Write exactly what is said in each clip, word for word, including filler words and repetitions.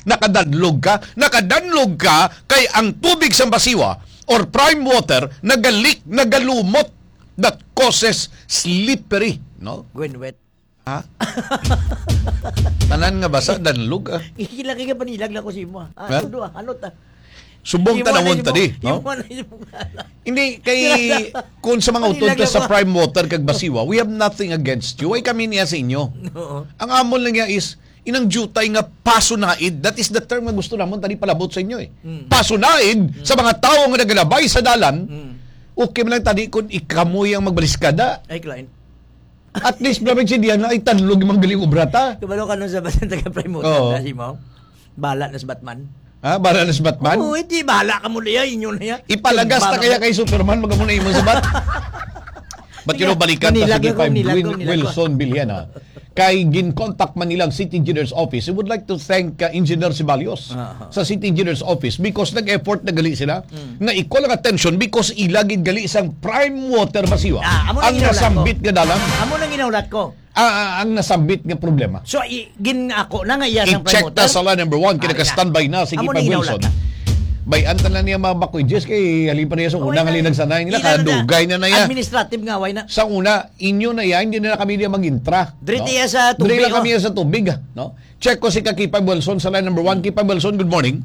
Nakadanlog ka, nakadanlog ka kay ang tubig sa basiwa or prime water nagalik, nagalumot, that causes slippery, no? Gwen wet. Ha? Tanan nga basa, danlog, ah. Ikilaki ka panilag lang ko sa imo. Ah, Ha? Tudo, ah, ano ta? Subong Imo na tanawon imo. ta di, no? Imo na imo. Hindi, kay kung sa mga utod Panilag ka sa ako. prime water kag basiwa, we have nothing against you. Why kami niya sa inyo? Oo. Ang amon lang niya is, inang jutay nga pasunaid, that is the term nga gusto namon tani palabot sa inyo eh. Mm. Pasunaid sa mga tawo nga nagalabay sa dalan, Mm. okay man lang tani kung ikamoy ang magbaliskada. Ay, client. At least, Brad, si Diana ay tanlog yung mga galing obra ta. Kabalo ka nun sa basta taga Prime Motor, Oo. Kasi mo? Bala na sa Batman. Ha? Bala na si Batman? Oo, hindi. Bala ka mo niya. Inyo na yan. Ipalagas na Bala kaya mo. Kay Superman, magamo na imo sabat. But you know, balikan ta Manilag sige ako, pa, manilag Will- ako, manilag ako. Wilson Bilhena. Kay ginkontak man nilang City Engineers Office, we would like to thank uh, Engineer Ceballos Aha. sa City Engineers Office because nag-effort na gali sila Mm. nga i-call ang attention because ila gid gali sang prime water masiwa Ah, amo na ang ginahulat ko. nasambit nga dalan. Amo nang ginaulat ko. Ah, ah, ang nasambit nga problema. So, i, gin ako na nga iya sang I-check prime ta water. sa line number one, kina Ah, ka iya. standby na, sige Amo pa ni Wilson. Laulata. Bayan ta na niya mga bakoy Jess, kay halin pa niya sa Oo, unang ina na. halin nagsanayan nila, Ina na na. Kadugay na na yan. Administrative nga, why na? Sa una, inyo na yan, hindi na kami niya mag-intra. Diri tiya sa tubig, Diri lang oh. kami sa tubig, ah, no? Check ko si Kakipag Wilson sa line number one. Kipag Wilson, good morning.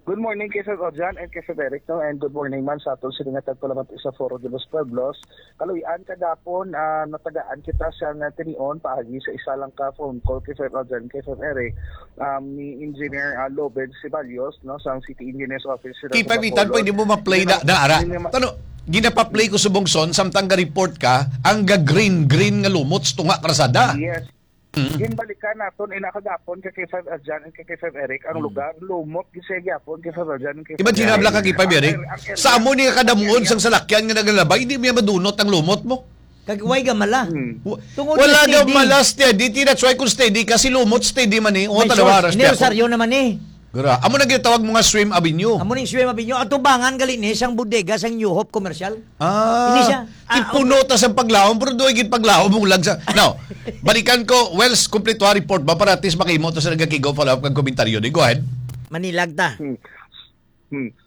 Good morning kay Sir Ojan and kay Sir Eric, no? And good morning man sa aton sini nga tagpalamat sa Foro de los Pueblos. Kaluy-an kagapon, ah, natagaan kita sa nga tinion paagi sa isa lang ka phone call kay Sir Ojan, kay Sir Eric, um, ni Engineer ah, Loben Ceballos, no, sa City Engineers Office. Sila sa Kipabitan, Bacolod. Pwede mo ma-play na, na ara. Hindi ma- Tano, ginapaplay ko subong son, samtang ga-report ka, ang ga-green-green nga lumot sa tunga karsada. Yes. Mm. Ginbalikan naton ina kagapon kay kay Five Adjan and kay kay Five Eric ang Mm. lugar, lumot gid siya gyapon kay Five Adjan and kay Imagine Five habla ka Eric. kay Five Eric. Ang area- ang area- Sa amo ni nga kadamon ang area- sang salakyan nga nagalabay, hindi niya madunot ang lumot mo. Kag way gamala. Hmm. Wa- Tungod Wala na daw steady. Mala steady. That's why kung steady ka, si lumot steady man eh. O, May tanawa, source. Ras Ni Piaco. Rosario naman eh. Gra, amo na ginatawag mo nga swim avenue. Amo ning swim avenue. Atubangan gali ni sang bodega sang New Hope Commercial. Ah, Hindi siya. Ah, ipuno ta sa paglaom, pero doon gid paglaom mong lang sa. Now, balikan ko, Wells, kompleto ang report ba para at least makahimo ta sa nagakig-off, follow-up kag komentaryo. Di, go ahead. Manilag ta. Hmm.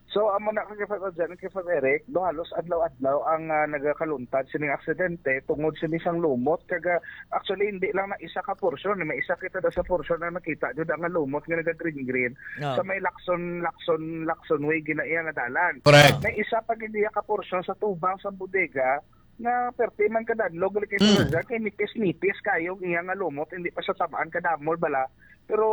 So, amo na kay Father John, kay Father Eric, do halos adlaw-adlaw ang ah, nagakaluntad sining aksidente tungod sini sang lumot. Kag ah, actually, hindi lang na isa ka porsyon, may isa kita da sa porsyon na nakita jud ang lumot nga naga-green-green No. sa may Lacson, Lacson, Lacson Way ginaiya nga dalan. Correct. May isa pa gid iya ka porsyon sa tubang sa bodega nga perti man kadadlog gali kay Mm. Father John, kay nipis-nipis kayo ang iya nga lumot, hindi pa sa tabaan kadamol bala. Pero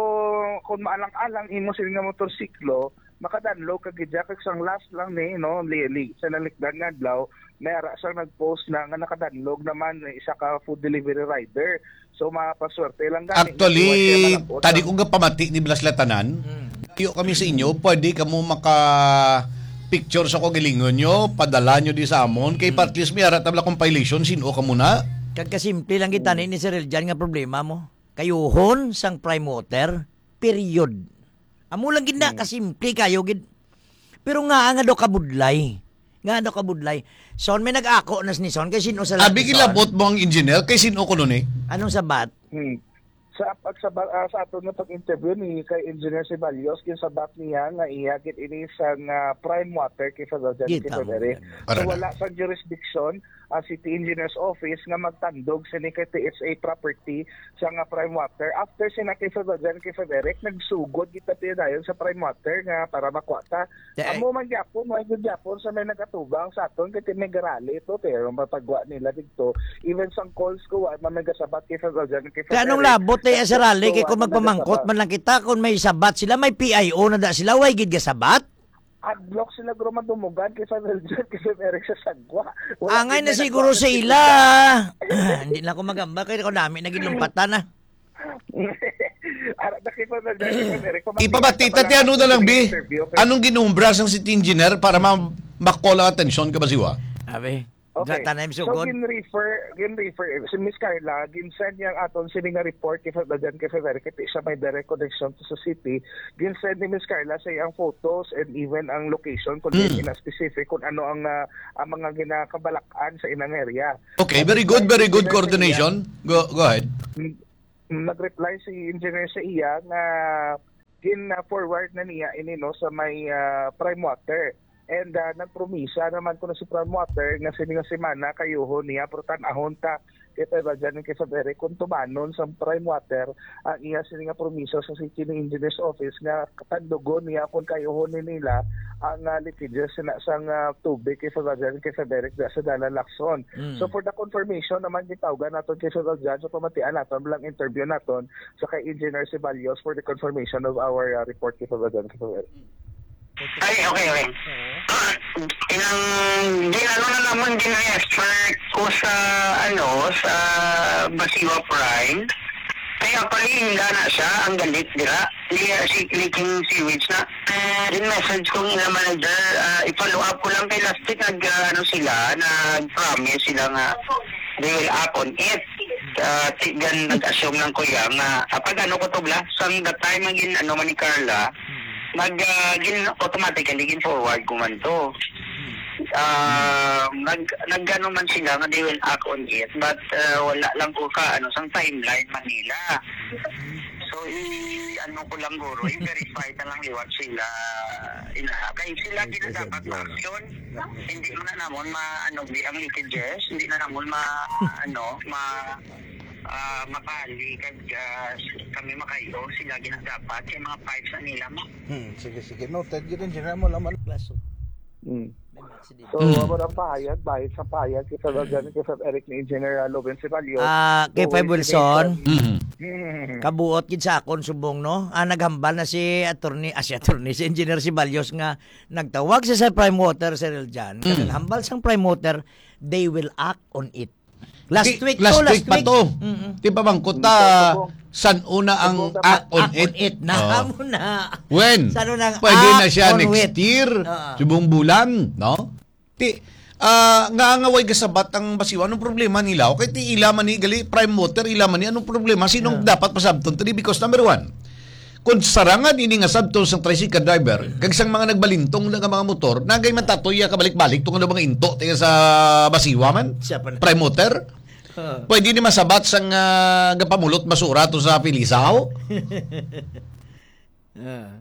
kung maalang-alang imo sini nga motorsiklo, makadanlog ka gid kag sang last lang ni, no, li, li, sa nalikdan nga adlaw, may ara sang nag-post na nga nakadanlog naman, isa ka food delivery rider. So mapaswerte lang gani. Actually, Nga malabot tadi ang kong kapamati ni Blas Latanan, Hmm. kayo kami sa inyo, pwede kamo maka picture sa kagalingon nyo, padala nyo di sa amon, kay Hmm. at least may ara tabla compilation, sino ka muna? Kag kasimple lang kita ni, ni Sir Eljan nga problema mo. Kayuhon sang prime water, period. Amo lang gid na, Hmm. kasimple kayo gid. Pero nga nga daw kabudlay. Nga daw kabudlay. Son, may nag-ako nas ni Son kay sino sa laki, Abi Son? Gilabot mo ang engineer kay sino ko nun eh. Anong sabat? Hmm. Sa pag sa, ah, sa aton nga pag-interview ni kay Engineer Ceballos, yung sabat niya nga iya gid ini sa nga prime water kay Father John, Kita kay mo Father Eric. yan. Para So, na. Wala sa jurisdiction ang City Engineers Office nga magtandog sini kay T S A property sa nga prime water. After sina kay Father John, kay Father Eric, nagsugod kita dayon sa prime water nga para makuha ta. Te- Amo man gyapon, wala gyud gyapon sa may nagatubang sa aton kay may garali ito, pero mapagwa nila dito. Even sang calls ko, wa man may gasabat kay Father John, kay Father Kay anong Eric. labot tayo sa rally kay Wa kung man magpamangkot nagasabat. man lang kita kung may sabat sila, may P I O na da sila, way gid gasabat? Adlok sila guro madumugan kay Father John, kay Father Eric sa sagwa. Wala Angay gyud na may siguro nagwa sa sila. sila. Hindi na ako magamba kay ako dami naging lumpatan na. Ara na kay Father John, kay Father Eric, pamati- Ipabati pala- ta ti ano na lang bi. interview, kay Anong ginumbra sang City Engineer para ma-call ang atensyon ka ba siwa? Abi, Okay. gata na yung So, sugod. gin-refer, gin-refer, si Miss Carla, gin-send niya ang aton sini nga report kay Father John, kay Father Eric, kay siya may direct connection to sa city. Gin-send ni Miss Carla sa iyang photos and even ang location kung Hmm. diin in a specific kung ano ang ah, ang mga ginakabalakan sa inang area. Okay, very good, very good coordination. Go, go ahead. Mm, nag-reply si engineer sa iya nga Na-forward na niya ini, no, sa may, ah, Prime Water. And, ah, nagpromisa naman ko na si Prime Water nga sini nga semana kayuhon niya, pero tan-ahon ta kay Five Aljan and kay Five Eric kung tumanon sa Prime Water ang iya sini nga promisa sa City Engineers Office nga katandugon niya kung kayuhon ni nila ang, ah, leakages na sang, ah, tubig kay Five Aljan and kay Five Eric sa Dalan Lacson. Mm. So, for the confirmation naman, gitawgan naton kay Five Aljan, so pamatian naton lang interview naton sa kay Engineer Ceballos for the confirmation of our, uh, report kay Five Aljan. Ay, okay, okay. Inang, din ano na naman, din refer ko sa, ano, sa Basiwa Prime. Kaya pala, hindi na siya ang galit, dira. Hindi, uh, si leaking sewage na. Din message ko nga manager, ah, i-follow up ko lang kay last week, nag, ah, ano sila, nag-promise sila nga they will act on it. Ah, ti-, gan nag-assume lang ko iya nga, ah, pag ano ko to, bla, sang the time nga gin-, ano man ni Carla, nag, ah, gin-, automatically gin-forward ko man to. Ah, nag-, nag-ano man sila nga they will act on it, but, ah, wala lang ko ka, ano, sang timeline man nila. So, i-, ano ko lang, guro, i-verify na lang liwat sila, ina. Kay sila gina dapat ma-action. Hindi mo na namon ma-, ano, di ang leakages, hindi na namon ma-, ano, ma-, ah, mapali kag, ah, kami makayo, sila gina dapat kay mga pipes na nila mo. Hmm, sige, sige. Noted, yun, Engineer, mo lang man. Klaso. Hmm. Nag-accident. So, Mm. amo ang pahayag, bahin sa pahayag kay Sir Aljan, kay Sir Eric ni Engineer, ah, Loven Ceballos. Ah, kay Five Wilson, Mm. kabuot gid sa akon subong, no? Ah, naghambal na si attorney, ah, si attorney, si Engineer Ceballos nga nagtawag sa, sa Prime Water, Sir Aljan. Mm. Kaya naghambal sang Prime Water, they will act on it. Last Ti-, week last to, last week pa week. to. Mm-mm. Ti pamangkot ta, Opo. san una ang Opo, dapat act on act on it. it na. Oo. Amo na. When? San una ang Pwede na act siya on next it. year, Oo. subong bulan, no? Ti, ah, nga, nga way gasabat ang Basiwa. Anong problema nila? Okay, ti ila man ni, gali, Prime Water, ila man ni. Anong problema? Sinong Yeah. dapat pasabton? Three, because number one, kung sarangan ini nga sabton sang tricycle driver, kag sang mga nagbalintong na nga mga motor, nagay man tatoy iya kabalik-balik tong ano mga into, tiga sa Basiwa man? Siya pa na. Prime Water? Ah. Pwede ni masabat sang, ah, gapamulot basura to sa Pilisaw? Ah.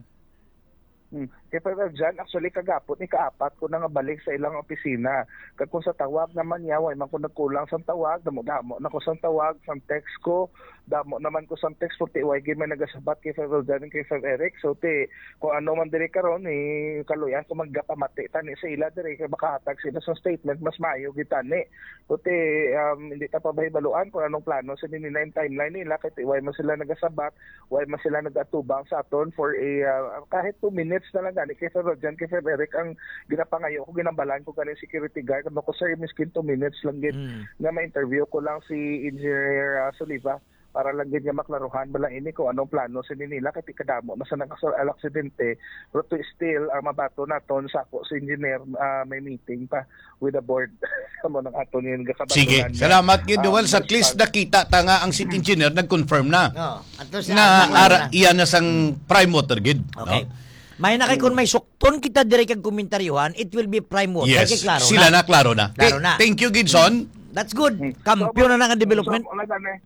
Hmm. Kay Father John, actually, kagapon ni kaapat ko na nga balik sa ilang opisina. Kag kung sa tawag naman niya, way man ko nagkulang sang tawag, damo-damo na ko sang tawag, sang text ko, damo naman ko sang text, puti way gid may nagasabat kay Father John and kay Father Eric. So, ti, kung ano man diri karon, eh, kaluyan ko magapamati tani sa ila diri, kay makahatag sila sa statement, mas maayo gid tani. Puti, um, hindi ta pa mahibaluan kung anong plano sa nila, yung timeline nila, kay ti way man sila nagasabat, way man sila nagatubang sa aton for a, ah, kahit two minutes na lang gani. Kay Sir Rojan, kay Sir Eric, ang ginapangayo ko, ginambalan ko gani security guard. Ano ko, "Sir, miskin two minutes lang gid Mm. nga ma-interview ko lang si Engineer, ah, Soliva para lang gid nga maklaruhan ba lang ini kung anong plano sa nila, kay ti kadamo na sa nakasul-, aksidente." Pero to still, ah, mabato naton sa ako si Engineer, ah, may meeting pa with the board. Amo nang aton yung gakabatunan Sige. niya. Salamat gid, Um, Duwal. Sa at least Mr. nakita ta nga ang city engineer nag-confirm na. Oh, at least Na siya, ara, na. iya na sang prime water gid, Okay. no? May na kay kung may sukton kita dire kag komentaryohan, it will be prime water. Yes. Kay klaro Sila na. na, klaro na. Klaro Th-, na. thank you, Gidson. That's good. Hmm. Kampiyon na nga development. So, wala na, eh.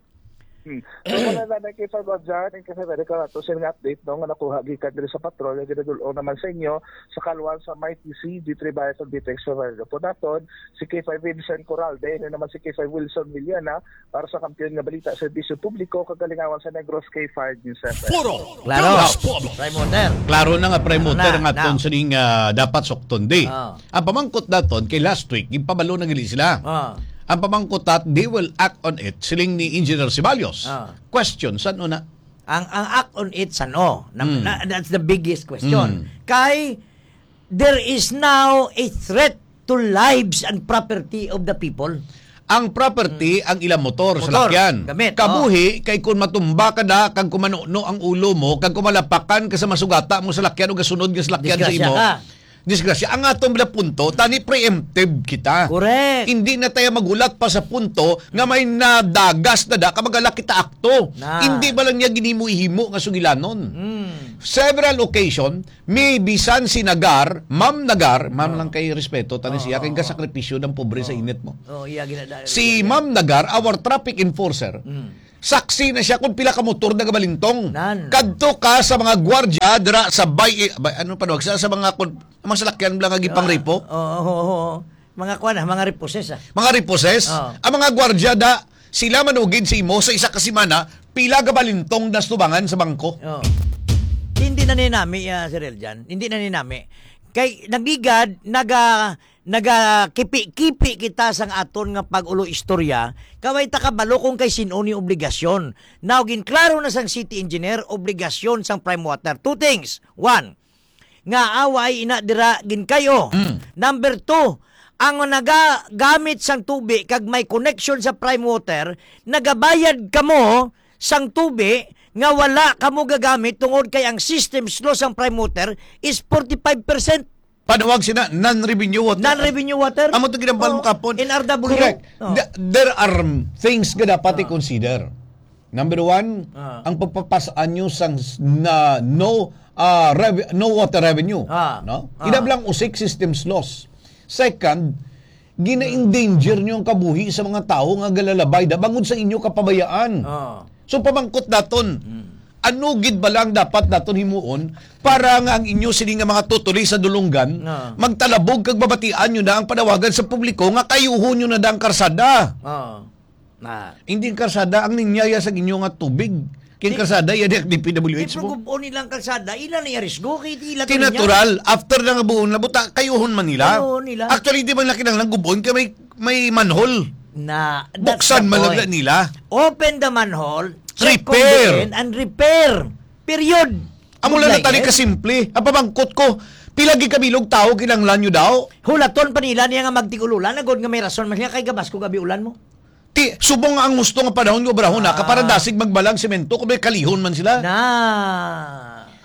Hmm. So, wala na, na kay Sir Roger, and kay Sir Eric, ato sila nga update, no, nga nakuha gikan diri sa patrol, nga ginadul-ong naman sa inyo, sa kaluan sa Mighty C, G three Bias of Vitex Survivor po naton, si K five Vincent Coralde, ano naman si K five Wilson Villana, para sa Kampiyon nga Balita, Serbisyo Publiko, kagalingawan sa Negros, K five News F M. Puro Klaro. Dalas Pueblo. Prime water. Klaro na nga, prime Klaro water na, nga na. aton sining, ah, dapat sukton di. Ah. Ang pamangkot naton, kay last week, ginpabalo na gali sila. Ah. Ang pamangkot that, they will act on it, siling ni Engineer Ceballos. Ah. Question, san una? Ang, ang act on it, san-o? Na, Hmm. na, that's the biggest question. Hmm. Kay, there is now a threat to lives and property of the people. Ang property, Hmm. ang ilang motor, Motor, salakyan. gamit, Kabuhi, oh. kay kung matumba ka na, kag kung manuno ang ulo mo, kag kung malapakan ka sa masugata mong salakyan o gasunod nga salakyan sa Disgrasya imo, ka. disgrasya. Ang atong bala punto, tani preemptive kita. Correct. Hindi na tayo magulat pa sa punto nga may nadagas na da, ka magala kita akto. Na. Hindi ba lang niya ginimo-himo nga sugilanon? Hmm. Several occasion, may bisan si Nagar, Ma'am Nagar, ma'am Oh. lang kay respeto, tani Oo, siya kay oo. gasakripisyo ng pobre sa Oo. init mo. Oo, iya, ginadayo, Si iya, iya. Ma'am Nagar, our traffic enforcer, Mm. Saksi na siya kung pila ka motor nagabalintong. Nan. Kadto ka sa mga gwardya dira sa bay, bay, ano pa, sa, sa mga kun-, mga salakyan lang nga gipangrepo. Ah, oo, oo, oo. Mga kuwan, ah, mga reposes, ah. Mga reposes? Oo. Ang mga gwardya da, sila manugid sa imo sa isa ka semana, pila gabalintong na sa tubangan sa bangko. Oo. Hindi na ninami, ah, Sir Eljan. Hindi na ninami. Kay nagligad, naga-, nagakipi-kipi kita sang aton nga pag-ulo istorya, kay way ta kabalo kung kay sin-o ni obligasyon. Now, ginklaro na sang city engineer, obligasyon sang Prime Water. Two things. One, nga away ina dira ginkayo. Mm. Number two, ang nagagamit sang tubi kag may connection sa Prime Water, nagabayad kamo sang tubi nga wala kamo gagamit tungod kay ang system slow sang Prime Water is forty-five percent. Panawag sina non-revenue water. Non-revenue water? Amo to ginambal mo Oh, kapon. N R W. Correct. Oh. Th-, there are things nga dapat Oh. i-consider. Number one, Ah. ang pagpapas-an nyo sang s-, na no, ah, rev-, no water revenue, Ah. no? Ah. Inablang usik system slow. Second, gina-endanger nyo ang kabuhi sa mga tawo nga galalabay da bangod sa inyo kapabayaan. Ah. So, pamangkot naton, Hmm. ano gid ba lang dapat naton himuon para nga ang inyo sini nga mga tutuli sa dulunggan Ah. magtalabog kag mabatian nyo na ang panawagan sa publiko nga kayuhon nyo na da ang karsada? Ah. Na. Hindi ang karsada ang ninyaya sa inyo nga tubig. Kay Di, karsada, iya di ang D P W H di mo. Pero gubon nilang karsada, ila na iya risgo, kay ila to niya. Natural, after na nga buon na buta, kayuhon man nila. Kayuhon nila. Actually, di man na kinahanglan gubon kay may, may manhole. Na, that's Buksan the man lang point. Nila. Open the manhole, check Repair. Condition, and repair. Period. Amo lang na Like tani it. Kasimple. Ang pamangkot ko, pila gid kabilog tawo kinahanglan nyo daw? Hulaton pa nila niya nga magtig-ululan, agod nga may rason man siya kay gabas ko gabi ulan mo. Ti, subong nga ang gusto nga panahon nga obrahon na, Ah. kaparandasig magbalang semento, kung may kalihon man sila. Na,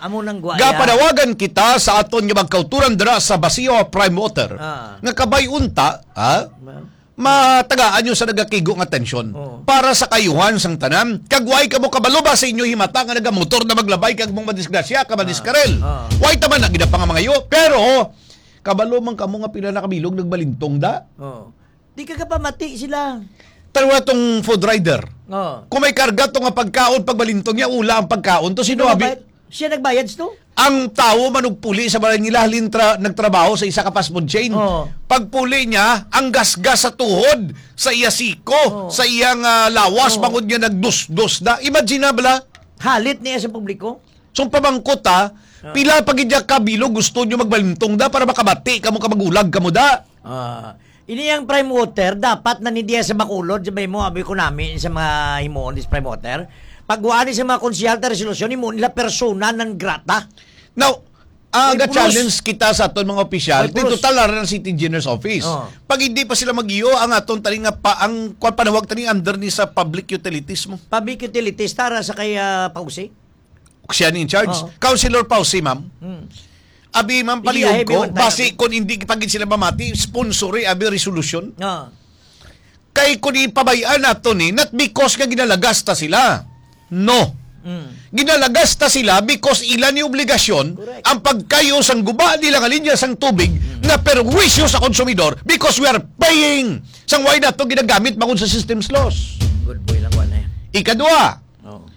amo nang gwaya. Gapanawagan kita sa aton nga magkauturan dira sa Basio Prime Water, Ah. nga kabay unta, ha? Ma'am. Matagaan nyo sa nagakigo nga tensyon Oo. para sa kayuhan sang tanan. Kag way kamo kabalo ba sa inyo himata nga nagamotor na maglabay kag mong madisgrasya ka Ah. madiskarel? Ah. Way taman na gid ang pangamangayo, pero kabalo man kamo nga pila na kabilog nagbalintong da? Oo. Di ka kapamati sila. Tanawa tong food rider. Oh. Kung may karga to nga pagkaon, pagbalintong niya, ula ang pagkaon to, sino Sino abi? Nagbayad? Siya nagbayad to? Ang tawo manugpuli sa balay nila, halin tra-, nagtrabaho sa isa ka fast food chain. Oh. Pagpuli niya, ang gasgas sa tuhod, sa iya siko, Oh. sa iyang, ah, lawas, Oh. bangod niya nagdusdos na. Imagine na bala. Halit niya sa publiko? So, pamangkot, ha, Ah. pila pa gid ya ka bilog gusto nyo magbalintong da para makabati kamo ka magulag kamo da? Ah, ini ang Prime Water, dapat na ni diya sa Bacolod, sabay mo, abi ko nami sa mga himuon dis Prime Water. Pagwaan ni sa mga konsehal ta resolusyon, himuon nila persona non grata. Now, ah, Oy, ga-challenge pulos. Kita sa aton mga opisyal, Oy, pulos. Total na rin ang City Engineer's Office. Oh. Pag hindi pa sila mag-iyo, ang aton tani nga pa, ang kwan panawag tani under ni sa public utilities mo. Public utilities, tara sa kay, ah, Pausi. Siya ni in charge. Oo. Councilor Pausi, ma'am. Hmm. Abi, ma'am, Iya, palihog heavy ko, one time. Basi kung hindi pa gid sila mamati, sponsori, abi, resolution. Oo. Kay kung ipabay-an nato ni, not because nga ginalagas ta sila. No. Mm. Ginalagas ta sila because ila ni obligasyon Correct. Ang pagkayo sang guba nila nga linya sang tubig Mm. na perwisyo sa konsumidor because we are paying sang way nato ginagamit bangod sa system's laws. Good boy lang, wala yan. Ikadua, Oo.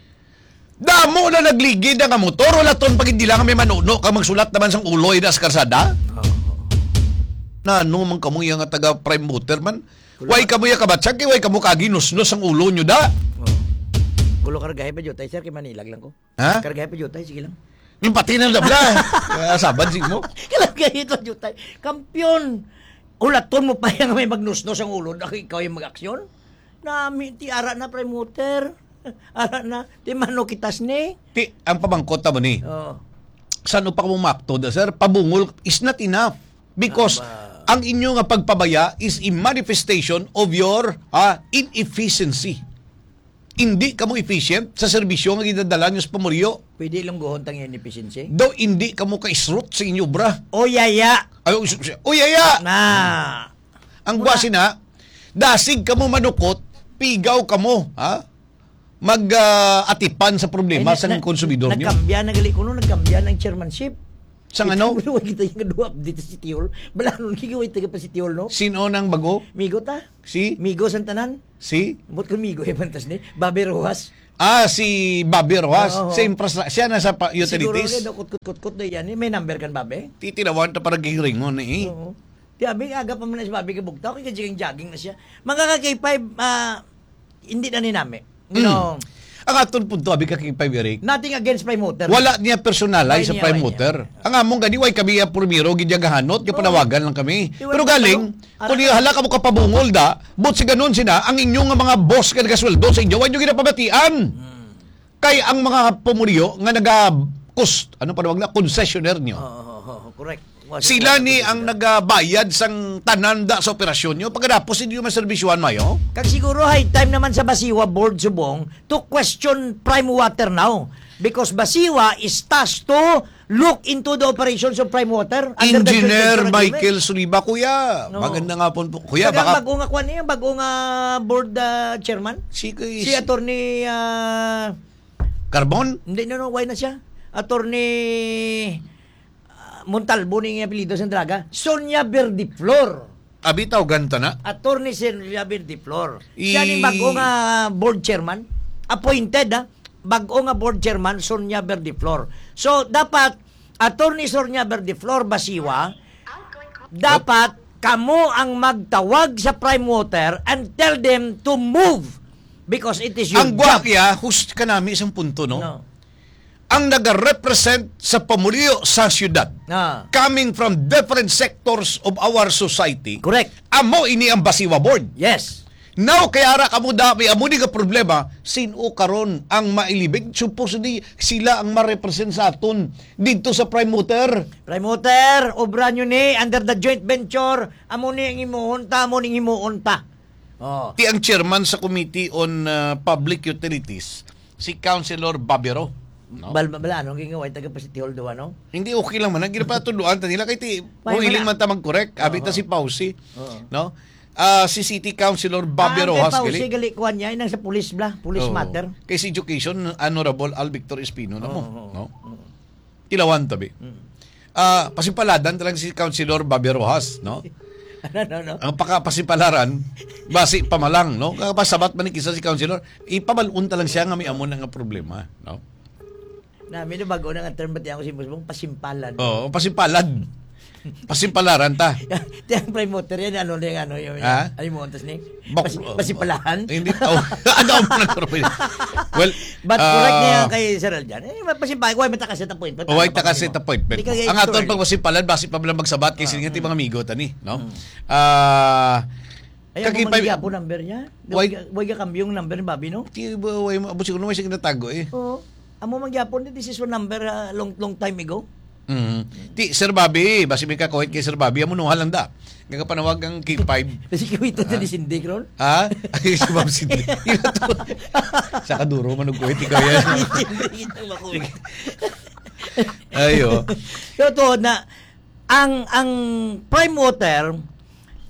Damo na nagligid na nga motor, wala ton pagindila nga may manuno ka magsulat naman sang uloy na sa karsada. Oo. Na ano man kamo iya nga taga Prime Motor man? Wala. Way kamo iya kabatsag, kay way kamo kaginusnos ang ulo nyo da. Oo. Gulo kargahe pa jutay, sir, kay Manilag lang ko. Ha? Kargahe pa jutay, sige lang. Yung pati na labla. Kaya sabad, sige mo. Kargahe pa jutay. Kampiyon! Ulaton mo pa yung may magnusnos ang ulo na ikaw yung mag-aksyon? Nami, ti ara na, Prime Motor. Ara na, ti mano kitas ni? Ti, ang pamangkot ta mo ni. Oo. San upa mo makto da, sir? Pabungol is not enough. Because Aba. Ang inyo nga pagpabaya is a manifestation of your, ah, inefficiency. Hindi kamo efficient sa serbisyo nga ginadala nyo sa pamuriyo. Pwede lang guhon tang inefficiency? Daw hindi kamo ka-isrot sa inyo obra. O yaya! Ay, o, s-, s-, o yaya! Na. Ang Muna. Gwasi na, dasig kamo manukot, pigaw kamo, ha? Mag, ah, atipan sa problema Ay, na-, sa na-, konsumidor nyo. Nagkambya na gali kuno, nagkambya ng chairmanship. Sang ano? Wala kita yung duha dito sa City Hall. Balanon, gigiway taga pa City Hall, no? Sino nang bago? Migo ta. Si? Migo sang tanan. Si? Ambot ko Migo, eh, pantas ni. Babe Rojas. Ah, si Babe Rojas. Oo. Sa infrastra-, siya na sa pa-, Siguro utilities. Rin, kutkot-kutkot na yan, eh. May number kan Babe? Titilawan ta para giringon, eh. Oo. Di abi, aga pa man na si Babe kabugtaw, kay jogging-jogging na siya. Mga ka-K five, ah, hindi na ninami. You Mm. know, Ang aton punto, abi ka, K five, Eric, nothing against Prime Water. Wala niya personalize Why sa niya, Prime why niya? Water. Ang among gani, why kami ang primero, gidya gahanot, nga Oo. panawagan lang kami. Di, Pero wala galing, tayo. Ara- kung hala ka mo kapabungol da, but si ganun sina, ang inyo nga mga boss nga nagasweldo sa inyo, why nyo ginapabatian? Hmm. Kay ang mga pumulyo nga naga-, kus-, ano pa tawag na, concessionaire nyo. Oo, oo, oo, correct. Sila ni ang nagabayad sang tanan da sa operasyon nyo. Pagkatapos, hindi nyo maserbisyuhan mayo. Kag siguro high time naman sa Basiwa Board subong to question Prime Water now. Because Basiwa is tasked to look into the operations of Prime Water under the joint Engineer venture agreement. Michael Suliba, kuya. No. Magandang hapon po. Kuya, Kaya baka bago nga kwan niya, bago nga board, ah, chairman? Si, si Si Attorney, ah, Carbon? Hindi, no, no, why na siya? Attorney, ah, Montalbo ni apelyido sa Draga. Sonia Verdeflor. Abi, tawgan ta na. Attorney Sonia Verdeflor. Siya ni I- bago nga board chairman. Appointed, ha? Bago nga board chairman, Sonia Verdeflor. So, dapat, Attorney Sonia Verdeflor Basiwa, dapat kamo ang magtawag sa Prime Water and tell them to move because it is your Ang job. Gwapya, hus-, kanami isang punto, no? No. Ang nagarepresent sa pamulyo sa syudad, Ah. coming from different sectors of our society, Correct. amo ini ang Basiwa Board. Yes. Now, kay ara kamo da, may amo ni nga problema, sin-o karon ang mailibig? Supposedly, sila ang ma-represent sa aton didto sa Prime Water. Prime Water, obra nyo ni, under the joint venture, amo ni ang himuon ta, amo ni ang himuon ta. Oh. Ti ang chairman sa Committee on, uh, Public Utilities, si Councilor Babero, no? Bal-, bal-, ano, ang gingawa, taga pa City Hall daw, ano? Hindi, okay lang man. Ang ginapatuluan ta nila, kay ti, May kung hiling mana- man ta mag-correct, abi ta Oo. si Pausi, Oo. no? Ah, si City Councilor Bobby Ah, ang Rojas, kay Pausi, gali. gali kuwan niya, inang sa police bla, police Oo. matter. Kay si Education, Honorable Al Victor Espino na mo, Oo, oo, no? oo. Tilawan tabi. Mm. Ah, pasipaladan ta lang si Councilor Bobby Rojas, no? Ano, no, no? Ang paka-, pasipalaran, basi pamalang, no? Kapasabat man ni kisa si Councilor, ipabalun ta lang siya nga may amo na nga problema, no? Na, may bago na nga term, bati ako si Boss Bong, pasimpalan. Oo, pasimpalan. Pasimpalaran ta. Ti ang Prime Water yan, ano na yung ano, yung, Ha? ano yung montas ni? Bak-, Pasi-, oh, pasipalahan? Hindi, oh, ano ang mga term? Well, But correct ah, niya kay Sir Aljan. Eh, pasimpalan, why matakas sa appointment? Oh, why Ano pa takas kasi sa mo? appointment? Di ka Ang aton gay-, pagpasimpalan, basi pa lang magsabat kay Ah, sige nga, ti mm. mga amigo, tani, no? Mm. Ah, Ay, ang Kakipay- mga giyapo number niya? Why? Why, why ka kambyo ang number ni Bobby, no? Ti, wa-, why mo, abo siguro may sige natago eh. Oo. Amo man gyapon, this is one number, ah, long, long time ago. Mhm. Ti, Sir Bobby, basi may kakuhit kay Sir Bobby, amo nuha lang da. Nga kapanawag ang K five. Kasi kiwita sa Ha? ni Cindy, Ron. Ha? Ay, si Ma'am Cindy. Ila to. Sa kaduro, manugkuhit, ikaw yan. Hindi, hindi, hindi, makuwit. Ayo. So, to na, ang, ang Prime Water,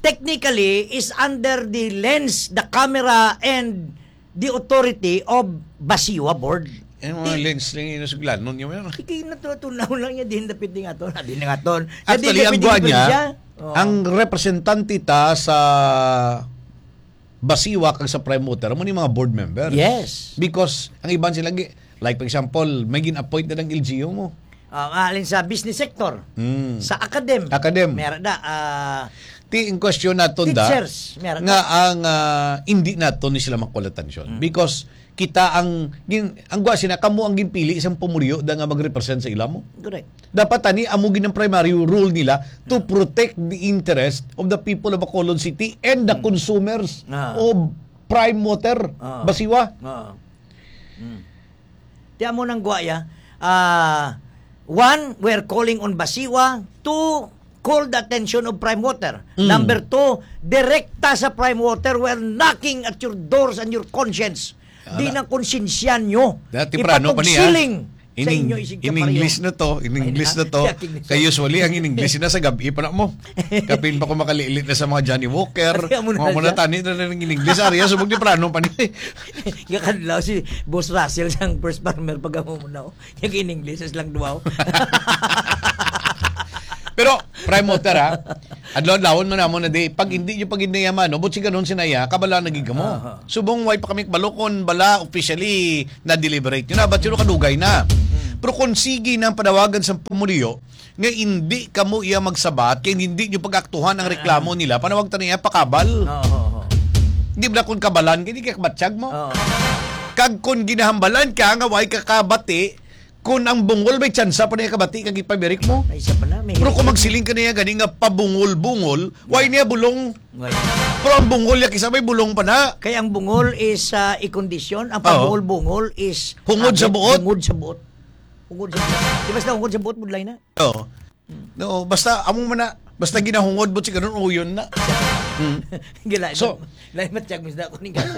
technically, is under the lens, the camera, and the authority of Basiwa Board. Yung mga Di- lens lang yung nasuglanon niya, meron. Ikay na to, tunaw lang niya, din dapit din aton. Di na nga ton. Sa Actually, din ang dapit buwan din niya, siya. Oo. ang representante ta sa Basiwa kag sa Prime Water, amo ni mga board member. Yes. Because ang iban sila, gi-, like, for example, may gin-appoint na ng L G U mo. Ah, alin sa business sector, Mm. sa academ. Academ. Meron na, ah, Ti, in question naton da, teachers, meron nga na. ang, ah, hindi naton ni sila makuha atensyon. Mm. Because kita ang, gin-, ang gwa sina, kamo ang ginpili isang pumulyo da nga mag-represent sa ila mo. Correct. Dapat tani, amo gid ang primary role nila to Mm. protect the interest of the people of Bacolod City and the Mm. consumers Ah. of Prime Water, Ah. Basiwa. Ah. Mm. Ti amo nang gwaya. Ah, one, we're calling on Basiwa to call the attention of Prime Water. Mm. Number two, direkta sa Prime Water, we're knocking at your doors and your conscience. Di Ala. ng konsensya nyo. Dati prano pa niya. Ipatugsiling sa In Eng-, inyo isig in English kapareho. na to, in Ay, English na. na to. Kaya English. Kay usually, ang in English na sa gabi pa na mo. Kapin pa ko makalilit na sa mga Johnny Walker. Kaya mo na Mga muna siya. tani na rin in English. Ariya, subog di prano pa ni. Nga kadlaw si Boss Russell sang first farmer pag amo mo na, oh. Yung in English, is lang duwaw. Pero, Prime Motor, ha? Adlaw-adlawon man namo na di, pag hindi nyo pag-indayaman, no? Buot silingon, sinaya, kabalo na gid kamo. Aha. Subong way pa kami kabalo kung bala officially na-deliberate nyo na, but yun kadugay na. Hmm. Pero kung sige na ang panawagan sa pumuluyo, nga hindi kamo iya magsabat, kay hindi nyo pag-aktuhan ang reklamo nila, panawag ta niya pakabal. Oo, oo, oo. Di ba kung kabalan, hindi kaya kabatyag mo? Oo. Kag kung ginahambalan ka nga way ka kabati, kung ang bungol may tsansa pa niya kabati, kag ipabirik mo. Ay, isa pa na, may Pero kung magsiling ka niya gani nga pabungol-bungol, way niya bulong. Way. Pero ang bungol niya kisa may bulong pa na. Kay ang bungol is, ah, i-kondisyon, ang Oo. pabungol-bungol is Hungod sa ah, buot? Hungod sa buot. Hungod sa buot. Di basta hungod sa buot, budlay na. Oo. No, basta amo man na, basta ginahungod mo si ganun, uyon na. Hmm. Gila, So, lain matyag, misda ko ning kaso.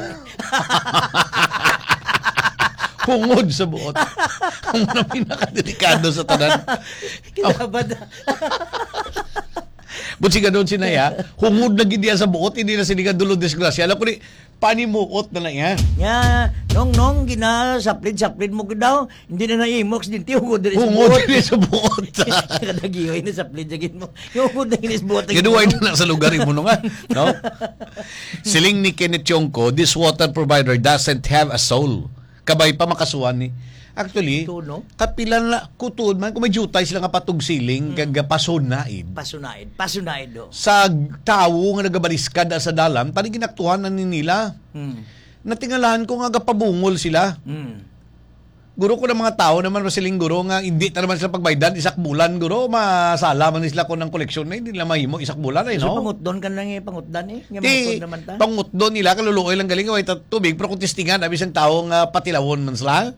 Hungod sa buot. Ang mga pinakadelikado sa tanan. Kinabad. Buot silingon, sinaya, hungod na gid niya sa buot, hindi na sila dulo disgrasya. Alam ko ni, panimuot na lang yan. Nga, nong, nong, ginasaplid-saplid mo gid daw, hindi na naimo, aksidente, hungod diri sa Hungod buot. diri sa buot. Kadagihoy na saplid sa gid mo. Yung hungod na gid sa buot, Gaduway na na sa lugar mo nga, no? Siling ni Kenneth Chongco, "This water provider doesn't have a soul." Kabay pa makasuhan ni. Actually, Ito, no? kapila na, kutuod man, kung may jutay sila nga patugsiling, Mm. kag pasunaid. Pasunaid. Pasunaid, do. Sa tawo nga nagabaliskad sa dalan, tani ginaktuhan na ni nila. Mm. Natingalahan ko nga gapabungol sila. Mm. Guro ko ng mga tao naman, masiling guro nga, hindi ta naman sila pagbaydan, isak bulan, guro, masala man sila kung ang koleksyon na, hindi nila mahimo, isak bulan, eh, So, no? pangutdon ka na nga, pangutdan, eh. Nga Di, mangutod naman ta. pangutdon nila, kaluluoy lang galing, way ta tubig, pero kung testingan, abi sang tao nga patilawon man sila.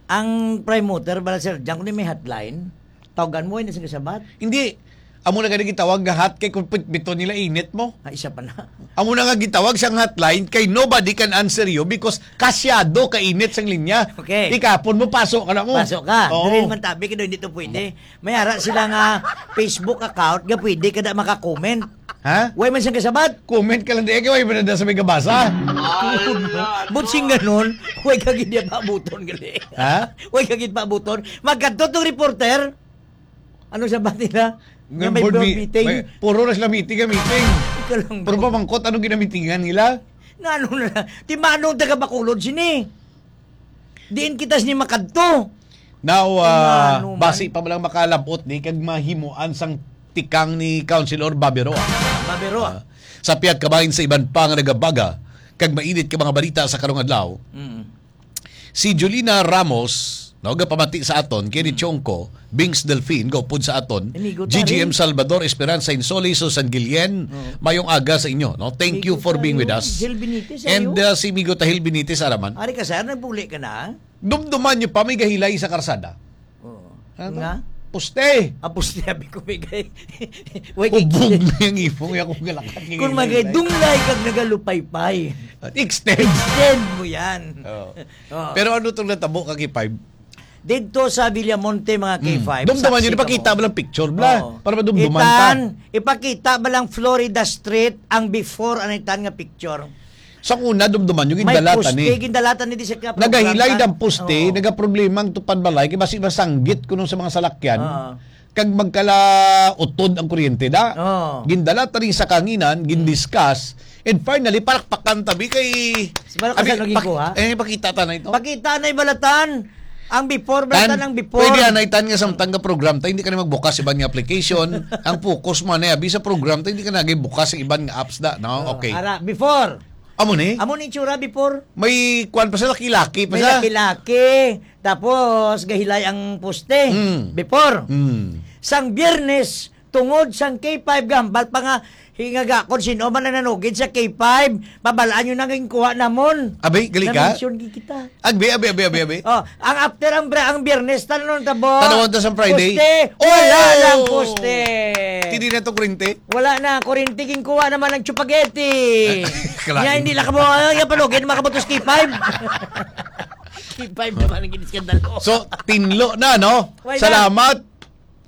Ang Prime Motor, bala, Sir Jan, kung may hotline, tawagan mo, hindi sila sabat. Hindi. Amo na gani gitawag nga hot kay kung pit-, bito nila init mo. Ah, isa pa na. Amo na nga gitawag sang hotline kay nobody can answer you because kasyado ka init sang linya. Okay. Ikapon mo, paso ka na mo. Paso ka. Oo. Diri man tabi, kay hindi to pwede. May ara sila nga Facebook account nga pwede ka na maka-comment. Ha? Way man siyang kasabat. Comment ka lang di, kay way man na sa may gabasa. Buot silingon, way ka gid paabuton gali. Ha? Way ka gid paabuton. Magkadto tong reporter. Ano sabat nila? Nga Nga may board board mi-, meeting. may, puro na sila meeting, ah, meeting. Ikaw lang Pero ba? pamangkot, ano ginamitingan nila? Nga ano na lang. Ti manong taga Bacolod sini? Diin kita sini makadto? Now, Ti ah, manong man. basi pa man lang makalabot ni kag mahimuan sang tikang ni Councilor Babiroa. Babiroa. Ah, sa pihak kabahin sa iban pa nga nagabaga kag mainit ka mga balita sa karong adlaw. Mm. Si Julina Ramos, no, gapamati sa aton, kay ni Mm. Chongco, Bings Delfin, gaupod sa aton, Amigo ta, G G M Rin. Salvador, Esperanza Insoli, Susan Guillen, Oo. mayong aga sa inyo, no? Thank you Amigo for ta, being with Rin. us. Gil Benitez, And, ayo. uh, si Amigo Tahil Benitez, araman. Ari ka, sir, nagbuli ka na? Dumduman nyo pa, may gahilay sa karsada. Oo. Ano to? Nga? Poste! Ah, poste, sabi ko, may gay-, way kay Hubog na yung ipong, yung akong galakat. Kung magay dunglay kag nagalupaypay. Extend. Extend mo yan. Oo. Oo. Pero ano tong natabo ka, K five? Dito sa Villamonte, mga Hmm. K five, Dumduman saksi yun, ipakita kamo. mo lang picture, bla. Oo. Para madumduman ta. Itan, ipakita ba lang Florida Street ang before, ano itan nga picture? Sa una, dumduman yung May gindalatan poste, eh. gindalatan ni di sa kaya Nagahilay program ta. ang poste, Oo. nagaproblema ang tupad balay, kay basi masanggit kuno sa mga salakyan. Oo. Kag magkalautod ang kuryente, da. Oo. Gindala ta rin sa kanginan, gindiscuss, and finally, palakpakan tabi kay Sa balak Abi, sa naging pak-, kuha? eh, pakita ta na ito. Pakita na ibalatan. Ang before, Tan, balatan ang before. pwede anay tan nga samtang nga program ta, hindi ka na magbukas iban nga application. Ang focus mo na abi sa program ta, hindi ka na bukas sa iban nga apps da, no? Oh, Okay. ara, before. Amo ni? Amo ni itsura before. May kwan pa sa laki-laki pa May sa. laki-laki. Tapos, gahilay ang poste. Mm. Before. Mm. Sang Biyernes, tungod sang K five gambal pa nga, hingaga kon sino man ang nanugid sa K five, mabalaan nyo na nga kuha namon. Abay, gali ka? Na-mention gid kita. Agbi, abi, abi, abi, abi. Oh, ang after ang bra-, ang Biyernes, tanong tabo. Tanawon ta sa Friday. Poste. Wala Oh! lang poste. Hindi na to kurente. Wala na, kurente, ginkuha naman ang chupageti. Kalain. Nga, hindi lang kamo, ah, yung palugin, makabutos K five. K five naman ang giniskandalo. So, tinlo na, no? Why not? Salamat.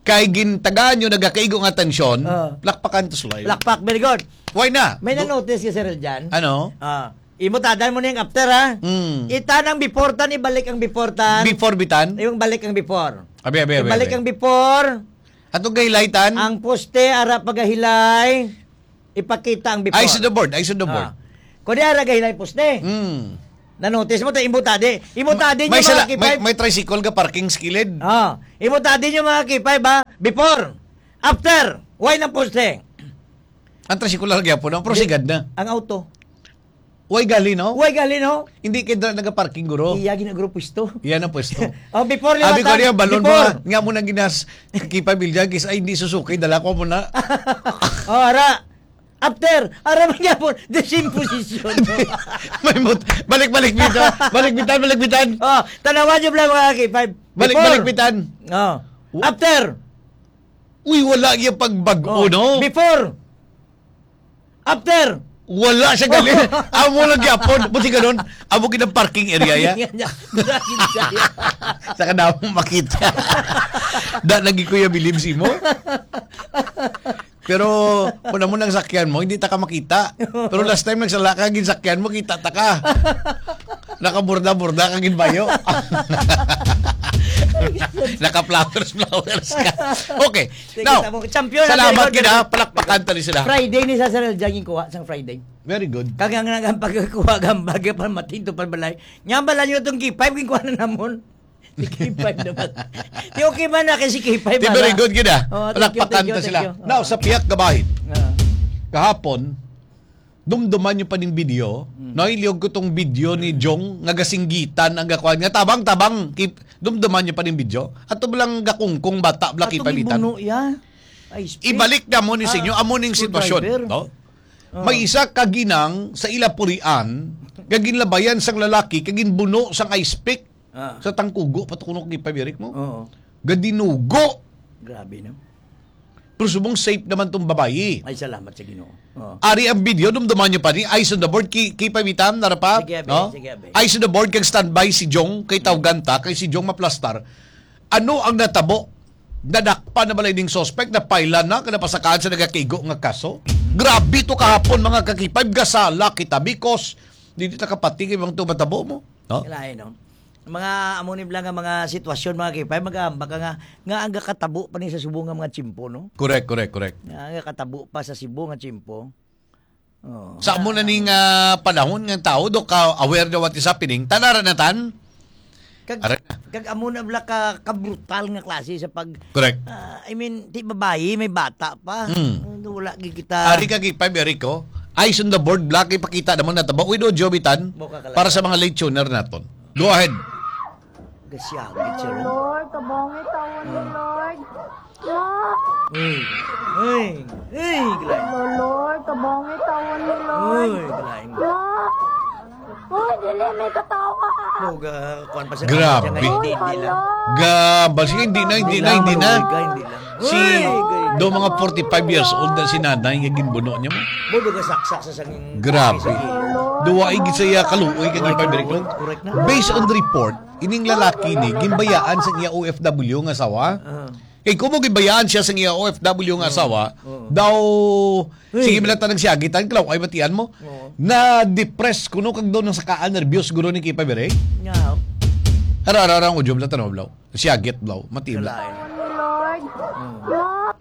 Kay gintagaan nyo nagakaigo nga atensyon, Ah. lakpakan to, Sulay. Lakpak, very good. Why na? May Do- na-notice ka, Sir Eljan? Ano? Ah. Imo tadan mo na yung after, ha? Mm. Itan ang before tan, ibalik ang before tan. Before bitan? Yung balik ang before. Abi, abi, abi, Ibalik abi. ang before. Atong gahilay, Tan. Ang poste, ara pagahilay, ipakita ang before. Eyes on the board, eyes on the board. Ah. Kung di ara gahilay poste. Hmm. Na-notice mo, ta imo tadi. Imo tadi May niyo, sala, mga may, K five. may tricycle ga parking sa kilid. Ah. Imo tadi niyo, mga K five, ba? Before. After. Why ng poste? Ang tricycle lang gyapon, no? Pero Di-, sigad na. ang auto. Way gali, no? Way gali, no? Hindi kay dra nagaparking, guro. Iya, ginaguro pwesto. Iya na pwesto. Oh, before Abi ko liwatan, niya, balon mo, before. nga mo nang ginas, Kipa Bilyagis, ay, hindi susuki, dala ko mo na. Oh, ara. After, ara man gyapon, the same position. May mut-, balik-balik dito. Balik bitan, balik bitan. Oh, tanawan niyo lang, mga K five. Balik-balik Before. bitan. Oh. W- After. Uy, wala yung pagbag-o, Oh. no? Before. After. Wala siya gali. Amo lang gyapon. Buti ganun. Amo gid ang parking area ya. Sa kanamo makita. Da lagi ko ya bilib si mo. Pero kung amo nang sakyan mo, hindi ta ka makita. Pero last time nagsala ka, ginsakyan mo, kita ta ka. Nakaburda-burda ka ginbayo. Naka-flowers-flowers ka. Okay. Sige, Now, tamo. Champion, salamat very good, gid, ha. very good. Palakpakan tali sila. Friday ni Cesar Eljan yung kuha sang Friday. Very good. Kag ang, ang pagkuha, ang bagay pa, matinto pa balay. Nga bala nyo itong K five, yung kuha na namon. Si K five naman. Di okay man na kay si K five, Di, very bala. good, gid, ah. Oh, thank you, Palakpakan thank you, ta sila. thank you. Now, Oh. sa pihak gabahin, Ah. kahapon, dumduman nyo pa ning video, Mm. no? Iliyog ko tong video ni Jong nga gasinggitan ang gakuan nga, "Tabang, tabang." Kip-, dumduman nyo pa ning video. Ato lang gakungkong bata, bla, Atong kipabitan. ibuno, ya. Ay, speak. Ibalik na mo ni sa inyo, Ah, amo ning sitwasyon, screwdriver. no? Ah. May isa ka ginang sa ila purian, nga ginlabayan sang lalaki, kag ginbuno sang ice pick. Ah. Sa tangkugo, pa to kuno kay pabirik mo. Oo. Gadinugo. Grabe, no? Pero subong safe naman tong babayi. Ay, salamat sa Ginoo. Oo. Ari ang video, dumduman nyo pa ni. Eyes on the board, ki-, kay pabitan, nara pa. Sige, abi, No? sige, abi. Eyes on the board, kag standby si Jong, kay tawgan ta, kay si Jong maplastar. Ano ang natabo? Nadakpan na ba ning suspect? Napaila na, kag napasakaan sa nagakigo nga kaso? Grabe to kahapon, mga kakipay. Gasala kita because di ta kapati kay mga to matabo mo. No? Kalain, no? Mga amo ni bala nga mga sitwasyon, mga K five, mag-aambak ka nga, nga ang gakatabo pa ni sa Cebu nga mga tiyempo, no? Correct, correct, correct. Nga ang gakatabo pa sa Cebu nga tiyempo. Oh, Sa amo na nga, ning, ah, panahon nga tao, do ka aware na what is happening. Tanara na tan? Kag, Are na. kag amo na bala ka, ka brutal nga klase sa pag, Correct. ah, I mean, ti babayi, may bata pa. Mm. Wala gid kita. Ari ka, K five, Eric, oh. Eyes on the board, black, ipakita naman na taba. Uy, do, Jovitan, Mo ka kalayo. para sa mga late tuner naton. Go ahead. Gasyagit siya ron. Lord, tabangit tawon ni Ah. Lord. Ma! Uy. Uy. Uy, gulay. Lord, tabangit tawon ni Lord. Uy, gulay. Ma! Uy, dili, may katawa. Mo ga, kuwan pa siya, Grabe. siya nga, hindi, hindi lang. Ga, basi hindi na, hindi na, hindi na. Maluoy ka, hindi lang. Si, Uy, gay. do mga forty-five years old na si nanay nga ginbuno niya mo. Mo ga saksak sa sanging Grabe. sa gilid. Duwa ay gid sa iya kaluoy kag Correct, ipabalik mo. correct na. Based on the report, ining lalaki ni, gimbayaan sa iya O F W nga asawa. Ah. Kay kung mo gibayaan siya sa iya O F W nga Oo. asawa, Oo. daw, Hey. sige, malata nagsiyagitan, klaw, ay matian mo. Oo. Na-depress kuno kag daw nasakaan, nervyos guro ni Kipa Bere. Nga. Hara, hara, hara, ang audio, malata na, blaw. Siyagit, blaw. Matian. Kalain. Lord. Oo.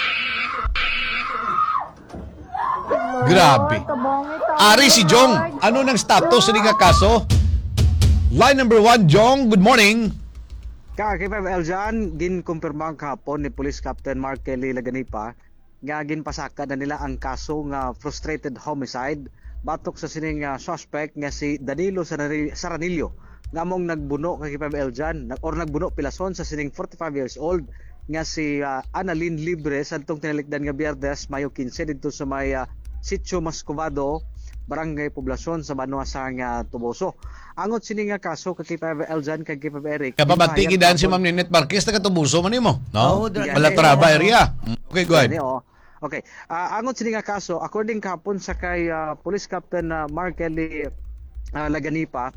Grabe. Ari si Jong. Ano nang status ni nga kaso? Line number one, Jong, good morning. Ka, K five Eljan, ginkumpirma kahapon ni Police Captain Mark Kelly Laganipa nga ginpasaka na nila ang kaso nga frustrated homicide batok sa sining, ah, suspect nga si Danilo Sarani-, Saranillo, nga among nagbuno kay K five Eljan, nag-, or nagbuno pilason sa sining forty-five years old nga si, ah, Annalyn Libre, sa adtong tinalikdan nga Biyernes, Mayo quince, didto sa may, ah, Sitio Mascovado, Barangay Poblacion, sa banwa sa nga Toboso. Angot sini nga kaso ka K five Eljan kag K five Eric, Kapamati ginpahayag gidan si kahapon. Ma'am Ninette Marquez, taga Toboso man nimo, no? Oo, dra-, Balatraba dra-, area. Mm, okay, go ahead. Gani, oo. Okay. Ah, angot sini nga kaso, according kahapon sa kay, ah, Police Captain, ah, Mark Kelly, ah, Laganipa,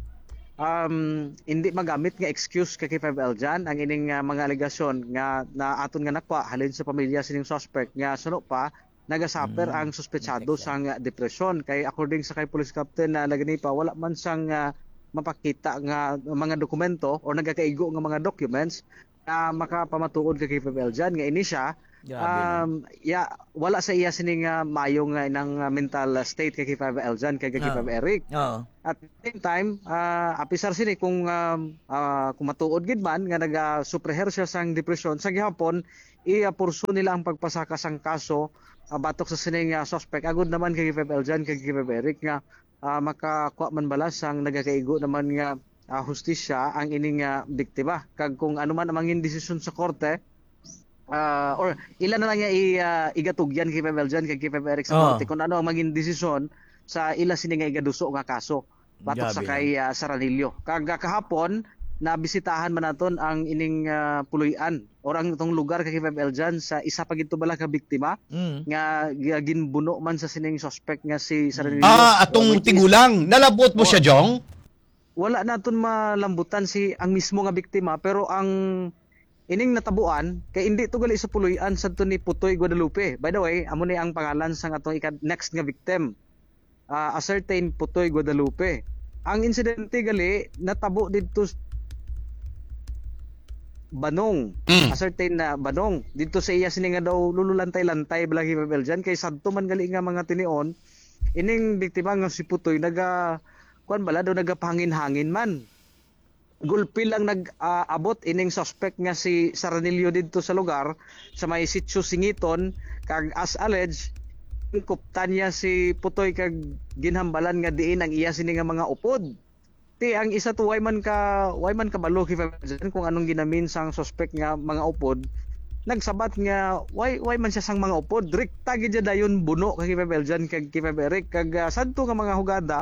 um, hindi magamit nga excuse ka K five Eljan ang ining, ah, mga alegasyon nga na aton nga nakwa halin sa pamilya sining suspect nga suno pa nagasuffer Mm. ang suspetsado Exactly. sang depresyon. Kay according sa kay Police Captain na Laganipa, wala man sang, ah, mapakita nga mga dokumento o nagakaigo nga mga documents na makapamatuod kay K five Eljan nga ini siya Grabe, no? Um, ya, wala sa iya sini nga maayo nga inang, ah, mental, ah, state kay K five Eljan, kay K five Oo. Eric. Oo. At the same time, ah, apisar sini kung, um, ah, kung matuod gid man nga naga-, supreher siya sang depresyon, sa gihapon, i-, ah, purso nila ang pagpasaka sang kaso, ah, batok sa sining, ah, suspect. Agod naman kay K five Eljan, kay K five Eric nga, ah, makakuha man bala sang nagakaigo naman nga, ah, hustisya ang ining, ah, biktima. Kag kung ano man ang mangin desisyon sa korte, ah, or ila na lang nga i-, ah, igatugyan kay Pebel Jan, kay Pebel Eric sa Oo. korte kung ano ang maging desisyon sa ila sini nga igaduso nga kaso batok sa Grabe, kay, no? ah, Saranillo. Kag, ah, kahapon, nabisitahan man naton ang ining, ah, puloy-an or ang itong lugar kay Pebel Jan sa isa pa gid to bala ka biktima Mm. nga gi-, ginbuno man sa sining suspect nga si Saranillo. Ah, atong Which is tigulang. Nalabot mo siya, Wa-, Jong? Wala naton malambutan si, ang mismo nga biktima, pero ang ining natabuan kay indi to gali sa puloy-an sadto ni Putoy Guadalupe. By the way, amo ni ang pangalan sang atong ika-, next nga victim. Ah, a certain Putoy Guadalupe. Ang insidente gali natabo didto s-, Banong. Mm. A certain na Banong. Didto sa iya sini nga daw lululantay-lantay bala, Pebel Jan, kay sadto man gali nga mga tinion, ining biktima nga si Putoy naga, kuwan bala, daw nagapahangin-hangin man. Gulpi lang nag, ah, abot ining suspect nga si Saranillo didto sa lugar, sa may Sitio Singiton, kag as alleged, kuptan niya si Putoy kag ginhambalan nga diin ang iya sini nga mga upod. Ti ang isa to, way man ka, way man kabalo kay Pebel Jan kung anong ginamin sang suspect nga mga upod. Nagsabat nga way, way man siya sang mga upod. Direkta gid siya dayon buno kay Pebel Jan kag kay Pebel Eric. Kag, ah, sadto nga mga hugada,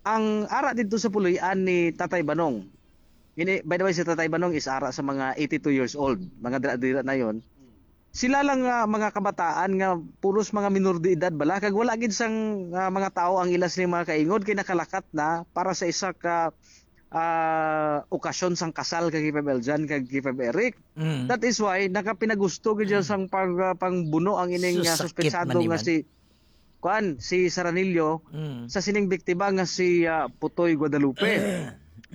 ang ara didto sa puloy-an ni Tatay Banong. Ini, by the way, si Tatay Banong is ara sa mga eighty-two years old, mga dira-dira na yon. Sila lang nga mga kabataan nga puros mga minor de edad bala, kag wala gid sang, ah, mga tawo ang ila sining mga kaingod, kay nakalakat na para sa isa ka, ah, okasyon sang kasal kay Pebel Jan kag kay Pebel Eric. Mm. That is why nakapinagusto gid siya Mm. sang pag, ah, pangbuno ang ining, Sus, ah, sakit suspetsado man ni nga man. si kuan, si Saranillo, Mm. sa sining biktima nga si, ah, Putoy Guadalupe.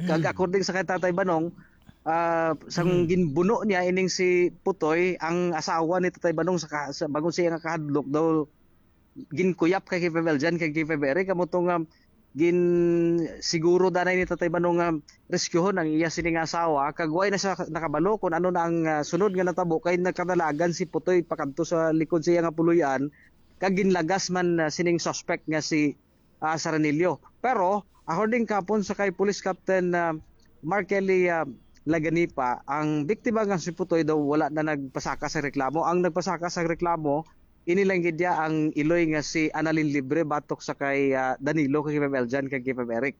Kag Mm. according sa kay Tatay Banong, ah, sang Mm. ginbuno niya ining si Putoy, ang asawa ni Tatay Banong sa ka-, sa bangod sa iya nga kahadlok daw ginkuyap kay K five Eljan, kay K five Eric, amo to nga gin-, siguro danay ni Tatay Banong nga rescuhon ang iya sini nga asawa, kag way na siya nakabalo kung ano na ang, ah, sunod nga natabo, kay nagkadalagan si Putoy pakadto sa likod sa iya nga puloy-an, kag ginlagas man, ah, sining suspect nga si, ah, Saranillo. Pero, according kapon sa kay Police Captain, ah, Mark Kelly, ah, Laganipa, ang biktima nga si Putoy daw wala na nagpasaka sa reklamo. Ang nagpasaka sa reklamo, ini lang gid iya ang iloy nga si Annalyn Libre batok sa kay, ah, Danilo, kay Pebel Jan, kay Pebel Eric.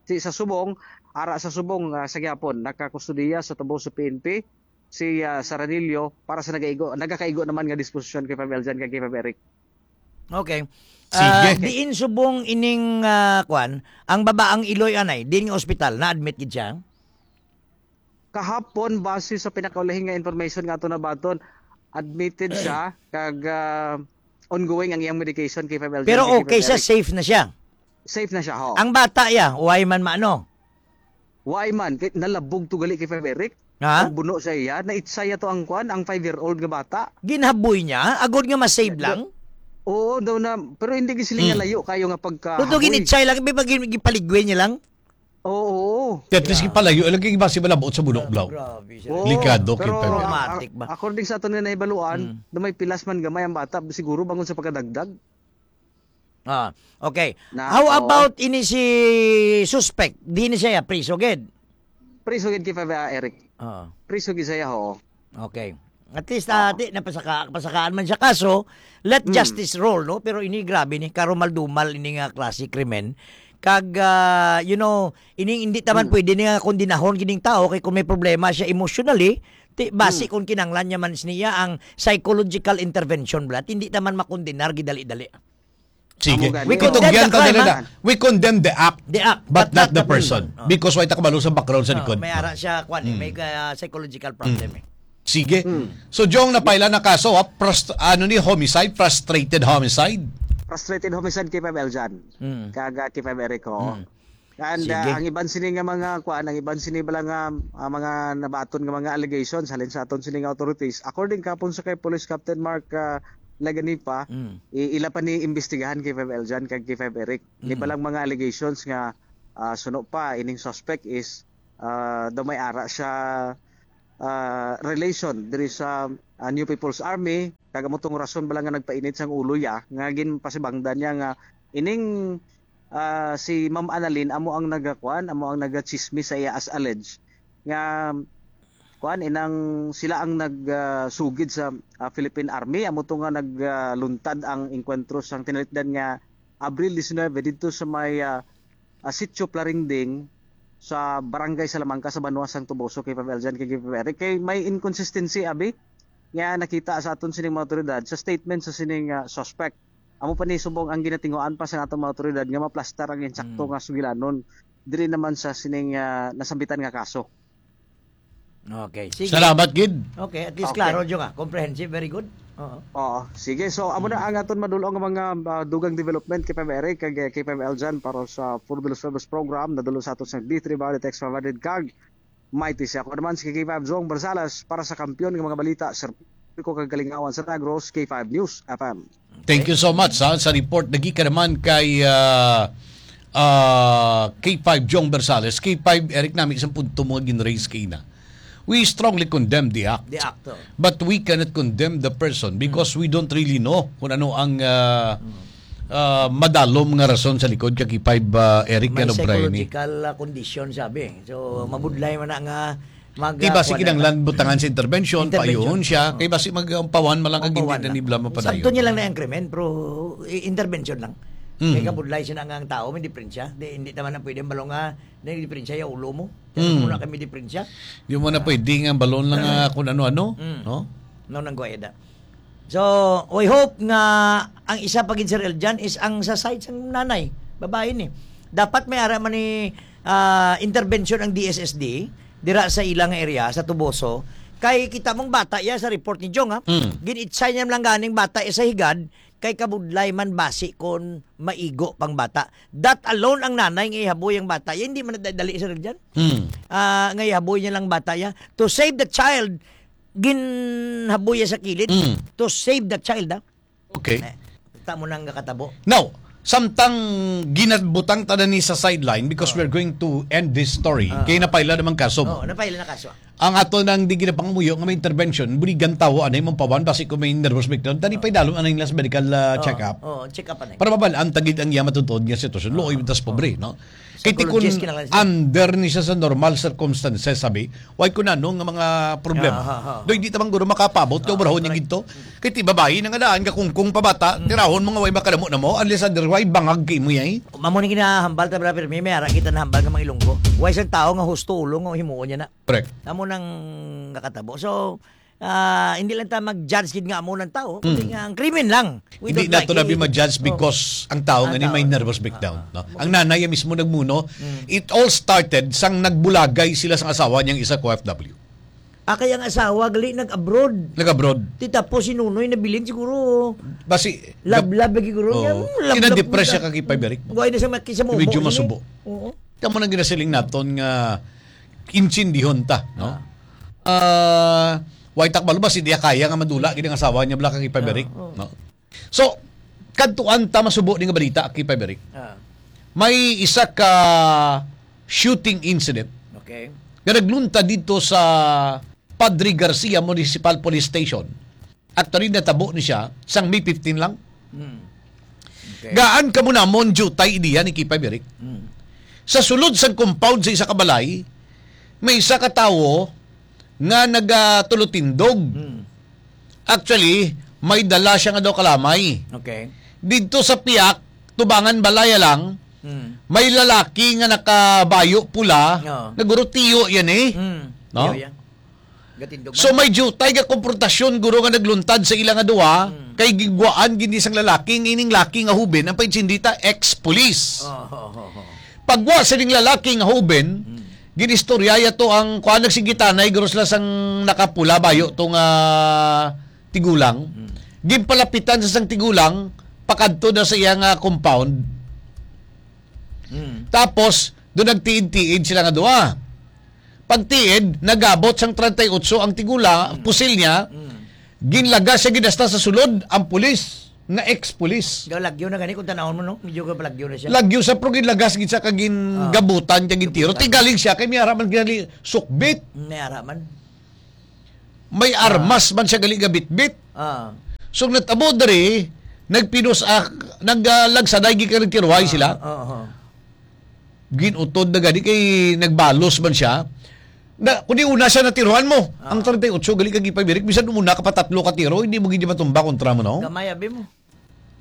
Si, sa subong, ara sa subong, ah, sa gihapon, nakakustodiya sa tubo sa P N P si, ah, Saranillo para sa nagaigo, nagakaigo naman nga disposisyon kay Pebel Jan, kay Pebel Eric. Okay. Sige. Ah, diin subong ining, ah, kwan, ang babaang iloy anay, diin nga ospital, na-admit gid siya? Kahapon, base sa pinakaulahi nga information nga ato nabaton, admitted siya, kag, ah, ongoing ang iyang medication kay Pebel Jan, Pero kay okay siya, Pebel Eric. Safe na siya? Safe na siya, ho. Ang bata, ya, way man maano? Way man, kay nalabog to gali kay Pebel Eric. Ha? Ang buno sa iya, naitsaya to ang kwan, ang five-year-old nga bata. Ginhaboy niya? Agod nga ma-save Na-, lang? Oo, daw na, pero hindi gid sila nga Hmm. layo kayo nga pagkahaboy. Tuto, ginitsay lang, may pag-, gipaligway niya lang? Oo, oo. At least Yeah. gipalayo lang kay basi malabot sa buno, Gra-, Blaw. grabe siya. Oo, Likado, pero kita. a-, Traumatic ba? according sa aton nga nahibaluan, Mm. na may pilas man gamay ang bata, siguro bangon sa pagkadagdag. Ah, okay. Na, How oo. about ini si suspect? Di ni siya priso gid? Priso gid kay Pabia, Eric. Oo. Priso gid siya, oo. Okay. At least, ah, Oo. di, napasaka-, pasakaan man siya. Kaso, let Mm. justice roll, no? Pero ini, grabe ni, karumal-dumal ini nga klase krimen. Kag, ah, you know, ini, hindi taman Mm. pwede ni nga kondenahon kining tao kay kung may problema siya emotionally, ti, basi Mm. kung kinanglan niya man niya ang psychological intervention, blat, hindi taman makondenar gidali-dali. Sige. Amo gani. We condemn Itugyan the ta crime, dali ha? na. We condemn the act, The act, but but not not the the person. person. Oh. Because way ta kabalo sa background sa Oh, likod. may ara siya, kwan, eh, Mm. may, ah, psychological problem, Mm. eh. Sige. Mm. So, Jong, napaila na kaso, ha? Frust-, ano ni, homicide? Frustrated homicide? Frustrated homicide kay Pabel Jan. Mm. Kag, ah, kay Pabel Eric, oo. Mm. And, Sige. ah, ang iban sini nga mga kuan, ang iban sini bala nga, ah, mga nabaton nga mga allegations halin sa aton sini nga authorities. According kapon sa kay Police Captain Mark, ah, Laganipa, Mm. i-, ila pa ni imbestigahan kay five Eljan kag kay five Eric. Ni Mm. balang mga allegations nga, ah, suno pa ining suspect is, ah, daw may ara siya, ah, relation diri sa, ah, New People's Army, kag amo tong rason bala nga nagpainit sang ulo ya nga ginpasibangdan niya nga ining, ah, si Ma'am Annalyn amo ang nagakuan, amo ang nagachismis sa iya as alleged nga kuan, inang sila ang nag, ah, sugid sa, ah, Philippine Army, amo to nga nagluntad ang engkwentro sang tinalikdan nga Abril diecinuebe didto sa may, ah, ah, Sitio Plaringding sa Barangay Salamanca sa Banwa sang Toboso kay five Eljan kay Gilbert. Kay may inconsistency, abi, nga nakita sa aton sining mga awtoridad sa statement sa sining, ah, suspect. Amo pa ni subong ang ginatinguan pa sa atong mga awtoridad nga maplastar ang insakto Mm. nga sugilanon diri naman sa sining, ah, nasambitan nga kaso. Okay, sige. Salamat gid. Okay, at least Okay. klaro jud nga. Comprehensive, very good. Oo. Oo, sige. So, amo na Mm. ang aton madul-ong nga mga, ah, dugang development kay five Eric kag, eh, kay five Eljan para sa Four Bills Service Program. Nadul-ong sa aton sa D three Body Text five hundred kag Mighty siya. Ako naman si K five Zong Barzales para sa Kampiyon nga mga balita, serbisyo kag kalingawan sa Negros, K five News F M. Thank you so much, ha, sa report. Nagika naman kay, ah, ah, K five John Bersales. K five, Eric, nami isang punto mo nga gin-raise kaina. We strongly condemn the act. The act, oh. But we cannot condemn the person because Hmm. we don't really know kung ano ang, ah, Hmm. ah, madalom nga rason sa likod kay K five, ah, Eric May nga no, Brian, eh. psychological, ah, condition, sabi. So, Hmm. mabudlay man na nga mag, Di ba, ah, si kuwan na kinahanglan butangan sa intervention, Intervention. payuhon siya, Oo. kay basi mag-, ang pawan man lang kag hindi Pawan na lang. nila mapadayon. Sakto niya lang na ang krimen, pero i-, intervention lang. Mm. Kay kabudlay siya na nga ang tao, may diferensya. Di, hindi naman na pwede ang balong nga, may diferensya yung ulo mo. Kaya Mm. mo na kami diferensya. Di mo na Ah. pwede nga balon lang, ah, kung ano-ano, Mm. no? No, nang guwaya da. So, we hope nga ang isa pa gid, Sir Eljan, is ang sa side sang nanay, babae ni. Dapat may ara man ni, ah, intervention ang D S S D dira sa ilang area, sa Tuboso. Kay kita mong bata ya sa report ni Jong, ha? Mm. Gin-itsay niya lang ganing bata ya sa higad, kay kabudlay man basi kon maigo pang bata. That alone ang nanay nga ihaboy ang bata. Ya, hindi man dali, Sir Eljan. Mm. Ah, nga ihaboy niya lang bata ya. To save the child, ginhaboy ya sa kilid. Mm. To save the child, ha? Okay. Eh, kita mo nang nakatabo. Now, samtang ginabutang ta na ni sa sideline because Oh. we're going to end this story. Ah. Kay napaila naman kaso mo. Oh, napaila na kaso. Ang ato nang di ginapangamuyo nga may intervention, buligan tawo anay mampawan basi kung may nervous breakdown, tani Oh. pa'y dalom anay nila sa medical, ah, Oh, check-up. oh, check-up anay. Para mabal-an ta gid ang iya matutuod nga sitwasyon. Oh, Luoy tas oh. pobre, no? Kay ti kun Psychologist kinahanglan siya. under ni siya sa normal circumstances, sabi, way kun ano nga mga problema. Ah, ah, ah. Doy, di ta man guro makapabot kay Ah, obrahon niya correct. gid to. Kay ti babayi na nga daan, gakungkong pa bata, Mm. tirahon mo nga way makanamo-namo, unless otherwise, bangag kay mo yay. Mamo ni ginahambal ta, brother, may, may ara kita nahambal nga mga Ilonggo. Way sang tao nga husto ulo nga himuon niya na. Correct. Amo nang nakatabo. So, ah, hindi lang ta mag-judge gid nga amo ng tao, kundi Mm. nga ang krimen lang. We Hindi don't like nato na it. bi ma-judge Oh. because ang tao Ang nga ni tao. may nervous breakdown, Ah, no? ah. Ang nanay mismo nagmuno, Mm. it all started sang nagbulagay sila sang asawa niyang isa ka O F W. Ah, kay ang asawa gali nag-abroad. Nag-abroad. Ti tapos si Nunoy nabilin siguro. Basi, Love, gab-, love lagi guro. Oo. Niya, mm, love, Kina-depress love, siya love. kag K five Eric. Why na siya maki-, sa Medyo mumo, masubo. eh. Oo. Kamo nang ginasaling naton nga insindihon ta, no? Ah. Ah, way ta kabalo ba si diya kaya nga madula gid ang asawa niya bala kag K five Eric, Ah, oo. no? So, kadtuan ta masubo ni nga balita, K five Eric. Ah. May isa ka shooting incident Okay. nga nagluntad dito sa Padre Garcia Municipal Police Station. Actually, natabo ni siya sang May fifteen lang. Hmm. Okay. Gaan kamo namon jutay ideya ni K five Eric. Hmm. Sa sulod sang compound sa isa ka balay, may isa ka tawo nga nagatulotindog. Hmm. Actually, may dala siya nga daw kalamay. Okay. Didto sa piyak, tubangan balaya lang, Hmm. may lalaki nga nakabayo pula, Oo. nga guro tiyo yan eh. Hmm. No? Tiyo yan. Gatindog So man. may jutay nga komprontasyon, guro, nga nagluntad sa ila nga duha, Hmm. kay gigwaan gini sang lalaki, nga ining laki nga huben, ang paitsindita, ex-police. Oh, oh, oh, oh. Pagwa sa ning lalaki nga huben, Hmm. ginistorya to ang kuan, nagsigitanay, guro, sila sang nakapula, bayo to nga tigulang. Hmm. Ginpalapitan sa sang tigulang, pakadto na sa iya nga compound. Hmm. Tapos, Doon nagtiid-tiid sila nga duha. Pagtiid, nagabot sang treinta y ocho ang tigula, Mm. pusil niya, Mm. ginlagas siya gid hasta sa sulod ang pulis, nga ex-pulis. Daw lagyo na gani kung tanawon mo, no? Medyo ka lagyo na siya. Lagyo sa, pero ginlagas gid siya kag gin-, Ah. gabutan kag gintiro. Gabutan. Tigaling siya, kay may ara man gali sukbit. May ara man. May Ah. armas man siya gali gabitbit. Ah. So, natabo diri, nagpinos-, ah, nag, ah, lagsaday gid kag nagtiruhay Ah, sila. oo. Ginutod na gani kay nagbalos man siya. Na, kundi una siya natiruhan mo. Ah. Ang treinta y ocho, gali kag ipabirik, bisan una ka pa tatlo ka tiro, hindi mo gid matumba kontra mo, no? Gamay, abi mo.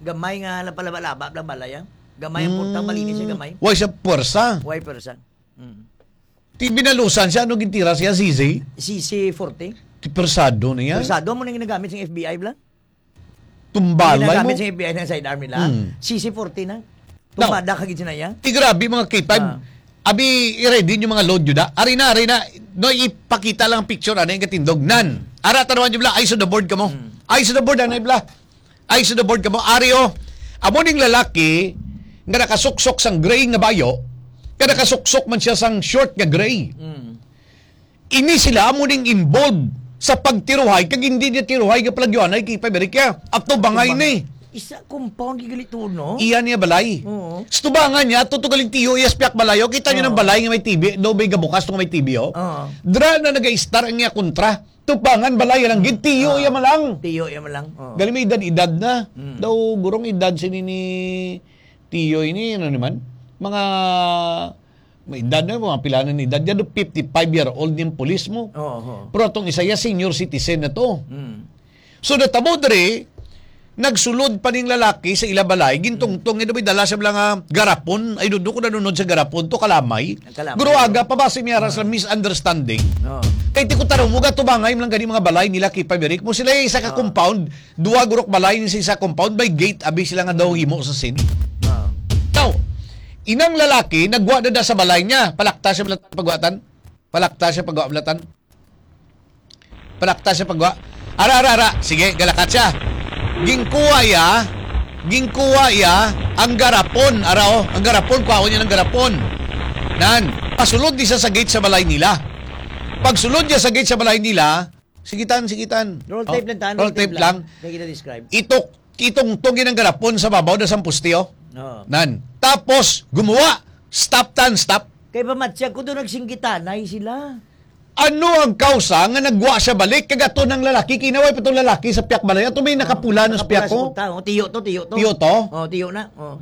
Gamay nga napalaba-laba lang balay, ah. Gamay ang purta, Mm. malinis siya, gamay. Why siya puwersa? Why puwersa? Mm. Ti binalusan siya, ano gintira siya, sisi? C C forty. Ti persado na yan. Persado mo nang ginagamit sa F B I, bla? Tumbalay Ang ginagamit mo. Sa F B I ng sidearm nila. Mm. C C forty na. Now, tumbada ka gid siya na iya. Ti grabe, mga K five. Ah. Abi, i-ready niyo mga load niyo da. Ari na, ari na. No, ipakita lang ang picture, ano yung katindog. Nan. Ara, tanawan niyo, bla. Eyes on the board ka mo. Mm. Eyes on the board, ano, bla. Eyes on the board ka mo. Ari, oh. Amo ning lalaki nga nakasuksok sang gray nga bayo, nga nakasuksok man siya sang short nga gray. Mm. Ini sila amo ning involved sa pagtiruhay, kag hindi niya tiruhay nga palagyoanay kay Pabirikya. Ato bangay Tubangan. Ni. Isa compound gigalito, no? Iya niya balay. Oo. Sa tubangan niya, tutugaling tiyo, iya sa piyak balay. O, kita niyo Oo. Ng balay nga may T V, daw may gabukas nga may T V, oh. Oo. Dra na nag-istar ang iya kontra. Tubangan balay lang, gid tiyo, Oo. Iya malang. Tiyo, iya malang. Oo. Gali may edad-edad na. Mm. Daw gurong edad sini ni tiyo ini, ano naman? Mga May edad na, mga pila na ni edad. Yan, fifty-five year old yung pulis mo. Oo, oo. Pero atong isa, ya, senior citizen na to. Mm. So, natabo diri, nagsulod pa ning lalaki sa ila balay, gintungtong, ito may dala siya lang nga garapon. Ay, doon ko nanunod sa garapon to, kalamay. Ang kalamay, Guro, oo. Aga pa ba si Miyara sa Ah. Misunderstanding? Oo. Kay ti ko tarong mo, gatubangay mo lang gani mga balay nila, Kipa Mirik mo. Sila yung isa ka Oo. Compound, Duha gurok balay ni sa isa compound, may gate, abi sila nga daw himo sa sin. Ah. Now, inang lalaki, nagwa na da sa balay niya. Palakta siya balatan, pagwatan. Palakta siya pagwa balatan. Palakta siya pagwa. Ara, ara, ara. Sige, galakat siya. Gingkuha iya, gingkuha iya ang garapon. Ara, oh, ang garapon, kuhaon niya ng garapon. Nan, pasulod di siya sa gate sa balay nila. Pagsulod niya sa gate sa balay nila, Sigitan, sigitan. Roll tape Oh, lang, tan, roll roll tape tape lang. Lang. Kaya kita describe. Itok, itungtong yun ang garapon sa babaw na sang poste, oh. Oo. Nan. Tapos, gumuwa. Stop tan, stop. Kay pamatsya ko doon nagsinggitanay sila. Ano ang kausa nga nagwa siya balik? Kagato ng lalaki, kinaway pa tong lalaki sa piyak balay. Ato may nakapula na sa Nakapula piyak sa ko. Unta, oh. Tiyo to, tiyo to. Tiyo to? Oh, tiyo na. Oh.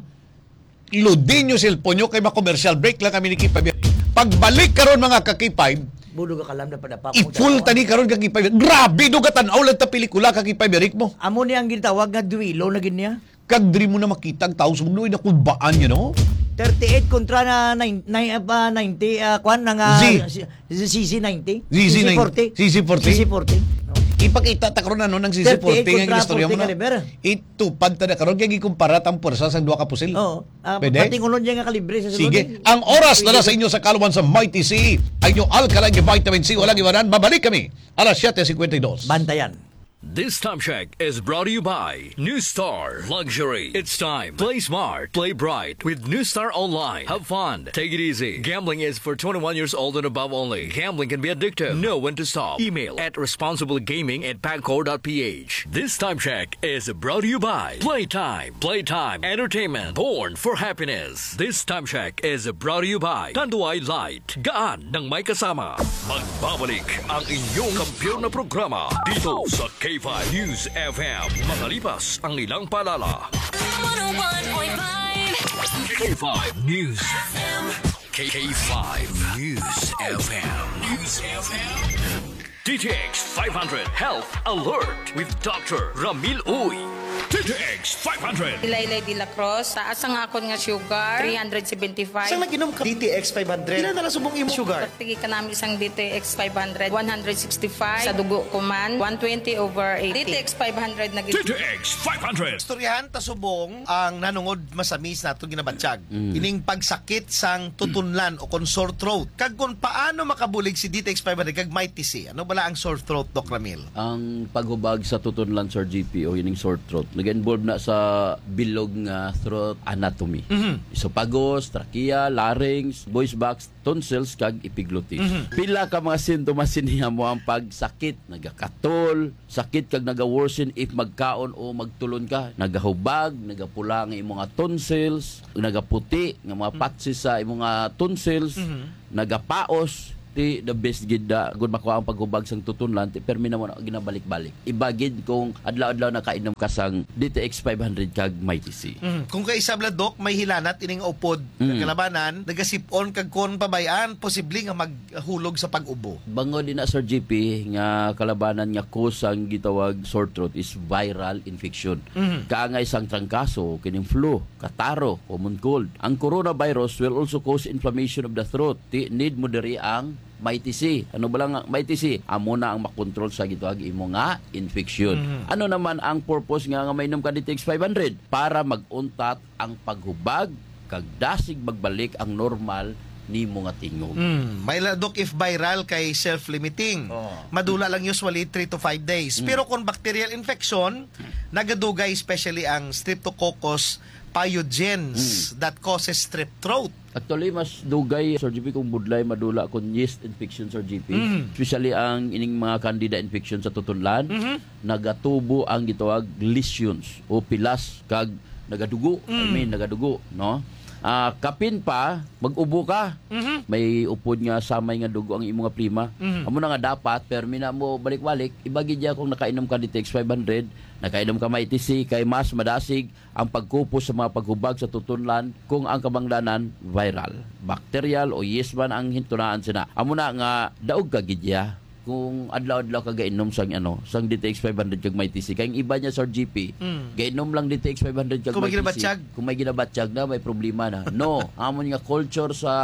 Lodi nyo cellphone nyo kay ma-commercial break lang kami ni K five. Pagbalik karon, mga ka K five, Budo ka kalam na padapa mo i-full dalawa. Tani karon ka K five. Grabe do ka tan-aw lang ta pelikula ka K five, Eric mo. Amo ni ang gitawag nga duelo na gid niya. Kag diri mo na makita ang tao sa mundo, ay nakulbaan niya, no? Thirty-eight kontra na nine, nine, ah, ninety, ah, kwan, na nga Z. Si, si, si C C ninety? C C ninety. C C forty. C C forty. C C forty. Oh. Ipakita ta karon ano ng C C forty thirty-eight nga kontra istorya mo forty na. Caliber. Itupad ta na karon kay gikumpara tang pwersa sang duha ka pusil. Oo. Ah, Pwede? Patingulon niya nga kalibre sa sulod, Sige. Eh. Ang oras na na sa inyo sa kaluan sa Mighty C. Ang inyong alkaline vitamin C, walang iwanan. Mabalik kami alas siyete cincuenta y dos. Bantayan. This time check is brought to you by New Star Luxury. It's time. Play smart, play bright with New Star Online. Have fun, take it easy. Gambling is for twenty-one years old and above only. Gambling can be addictive. Know when to stop. Email at responsiblegaming at pagcor dot ph. This time check is brought to you by Playtime. Playtime Entertainment. Born for happiness. This time check is brought to you by Tanduay Light. Gaan ng may kasama. Magbabalik ang inyong kampiyon na programa dito sa K five News F M. Makalipas ang ilang paalala. One oh one point five K five News F M. K five News F M. News F M. D T X five hundred Health Alert with Doctor Ramil Uy. D T X five hundred. Ilaylay de la Cruz, taas ang akon nga sugar, three hundred seventy-five. Sa nag-inom ka D T X five hundred, pila na lang subong imong sugar? Pagtigi ka namin sang D T X five hundred, one hundred sixty-five. Sa dugo ko man, one twenty over eighty. D T X five hundred na gid. D T X five hundred. Istoryahan ta subong ang nanungod masamis nato ginabatyag. Mm. Ining pagsakit sang tutunlan o kon sore throat. Kag kung paano makabulig si D T X five hundred kag Mighty C. Ano bala ang sore throat, Doc Ramil? Ang paghubag sa tutunlan, Sir G P, o ining sore throat, Nag-involve na sa bilog nga throat anatomy. Mhm. Esophagus, trachea, larynx, voice box, tonsils, kag epiglottis. Mhm. Pila ka mga sintomas sini amo ang pagsakit, nagakatol, sakit kag naga-worsen if magkaon o magtulon ka, nagahubag, nagapula nga imong mga tonsils, nagaputi nga mga Mhm. patches sa imong mga tonsils, Mhm. nagapaos, ti the best gid da, kung makuha ang paghubag sang tutunlan, ti permi na mo na ginabalik-balik. Iba gid kung adlaw-adlaw nakainom ka sang D T X five hundred kag Mighty C. Mm. Kung kaisab la, Doc, may hilanat ining upod Mm. kalabanan, nagasip-on kag kon pabayaan, posible nga maghulog sa pag-ubo. Bangod din na, Sir G P, nga kalabanan nga cause sang gitawag sore throat is viral infection. Mm. Kaangay sang trangkaso, kining flu, kataro, common cold. Ang coronavirus will also cause inflammation of the throat. Ti, need mo diri ang Mighty C. Ano ba lang ang Mighty C? Amo na ang makontrol sa gitawag imo nga infection. Mhm. Ano naman ang purpose nga, nga mainom ka D T X five hundred? Para mag-untat ang paghubag kag dasig magbalik ang normal nimo nga tingog. Mm. May la, Doc, if viral kay self-limiting. Oh. Madula lang usually three to five days. Mm. Pero kung bacterial infection, nagadugay especially ang Streptococcus pyogenes Mm. that causes strep throat. Actually, mas dugay, Sir G P, kung budlay madula kung yeast infection, Sir G P. Mm. Especially ang ining mga candida infection sa tutunlan, Mhm. nagatubo ang gitawag lesions o pilas kag nagadugo. I Mm. mean, nagadugo, no? Ah, kapin pa, mag-ubo ka. Mhm. May upod nga samay nga dugo ang imo nga plema. Mhm. Amo na nga dapat, permi na mo balik-balik, iba gid ya kung nakainom ka D T X five hundred, nakainom ka Mighty C, kay mas madasig ang pagkupos sa mga paghubag sa tutunlan kung ang kabangdanan viral, bacterial o yeast man ang hintunaan sina. Amo na nga daog ka gid ya kung adlaw-adlaw ka gainom sang, ano, sang D T X five hundred kag Mighty C. Kay ang iba niya, Sir G P, Mm. gainom lang D T X five hundred kag Kung may Mighty C. ginabatyag. Kung may ginabatyag na, may problema na. No, amon nga culture sa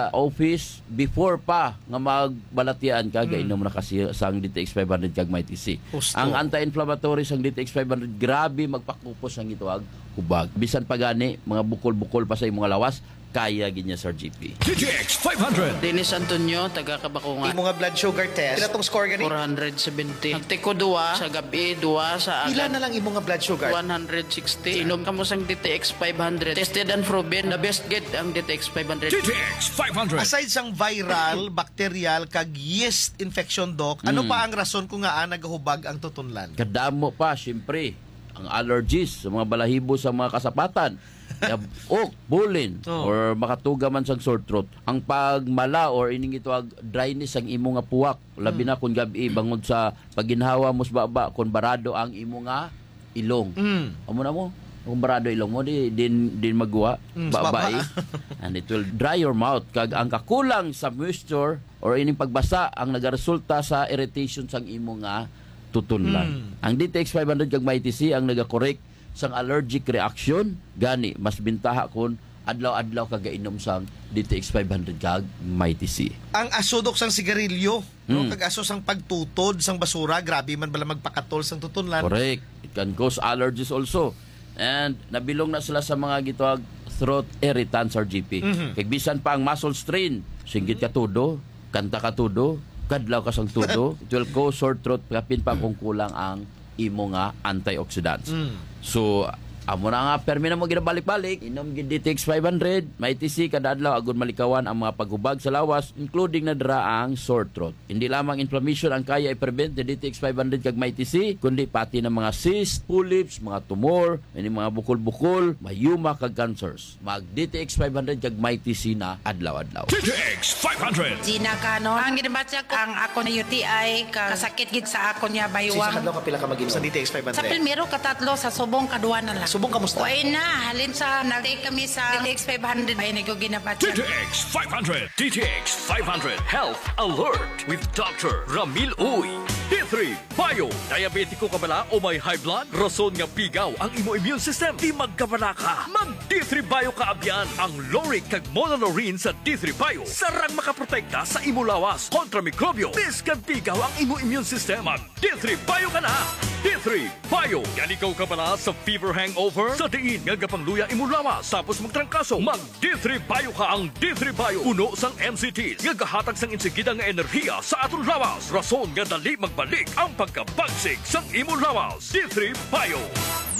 office, before pa nga magbalatian ka, Mm. gainom na kasi sang D T X five hundred kag Mighty C. Husto. Ang anti-inflammatory sang D T X five hundred, grabe magpakupos ang gitawag hubag. Bisan pa gani, mga bukol-bukol pa sa imong lawas, kaya gid niya, Sir G P. D T X five hundred. Dennis Antonio, taga Kabakungan. Imo nga blood sugar test, pila tong score gani? Four hundred seventy. Nagtiko duwa sa gabi, duwa sa Pila agad. na lang imo nga blood sugar? One hundred sixty. Inom kamo sang D T X five hundred. Tested and proven. The best gid ang D T X five hundred. D T X five hundred. Aside sang viral, bacterial, kag yeast infection, Doc, ano Mm. pa ang rason kung ngaa nagahubag ang tutunlan? Kadamo pa, siyempre, ang allergies sa mga balahibo sa mga kasapatan. Yab-ok, bulin, Oh. or makatuga man sang sore throat. Ang pagmala or ining gitawag dryness ang imo nga puwak, labi Mm. na kung gab-i, bangod sa pagginhawa mo sa baba, kung barado ang imo nga ilong. Mm. Amo na mo, kung barado ilong mo, di, din, din magwa, Mm, sa baba, baba. eh. And it will dry your mouth. Kag ang kakulang sa moisture or ining pagbasa ang nagaresulta sa irritation sang imo nga tutunlan. Mm. Ang D T X five hundred kag Mighty C ang nagakorek sang allergic reaction, gani mas bintaha kon adlaw-adlaw ka gainom sang D T X five hundred kag Mighty C. Ang aso, Doc, sang sigarilyo, no? Mm. Kag aso sang pagtutod sang basura, grabe man bala magpakatol sang tutunlan. Correct. It can cause allergies also. And nabilong na sila sa mga gitawag throat irritants, Sir G P. Mhm. Kag bisan pa ang muscle strain, singgit ka todo, kanta ka todo, kadlaw ka sang todo, it will cause sore throat, kapin pa kung kulang ang imo nga antioxidants. Mm. So, amo na nga, permi na mo ginabalik-balik, inom gid D T X five hundred, Mighty C kada adlaw, agud malikawan ang mga paghubag sa lawas, including na dira ang sore throat. Hindi lamang inflammation ang kaya i-prevent ni D T X five hundred kag Mighty C, kundi pati na mga cyst, polyps, mga tumor, may mga bukol-bukol, myoma, kag cancers. Mag D T X five hundred kag Mighty C na adlaw-adlaw. D T X five hundred. Gina Canon. Ang ginabatya ko, ang ako na U T I, ka-, kasakit gid sa ako niya, Sa baywang. Isang adlaw, kapila ka mag-inom sa D T X five hundred? Sa primero, katatlo, sa subong, kadua na lang. Subong, kamusta? Way na, halin sa nag-take kami sa D T X five hundred, ay, naguginabatya. D T X five hundred. D T X five hundred Health Alert with Doctor Ramil Uy. D three Bio. Diabetiko ka bala o may high blood? Rason nga pigaw ang imo immune system, di magkabala ka. Mag D three Bio ka abyan. Ang lauric kag monolaurin sa D three Bio sarang makaprotekta sa imo lawas kontra mikrobyo, bisan pigaw ang imo immune system. Mag D three Bio ka na. D three Bio. Naligaw ka bala sa fever hangover? Sa diin nga gapangluya imo lawas tapos magtrangkaso? Mag D three Bio ka. Ang D three Bio puno sang M C Ts nga gahatag sang insigida nga enerhiya sa aton lawas, rason nga dali mag Balik ang pagkabagsik sang imo lawas. D three Bio.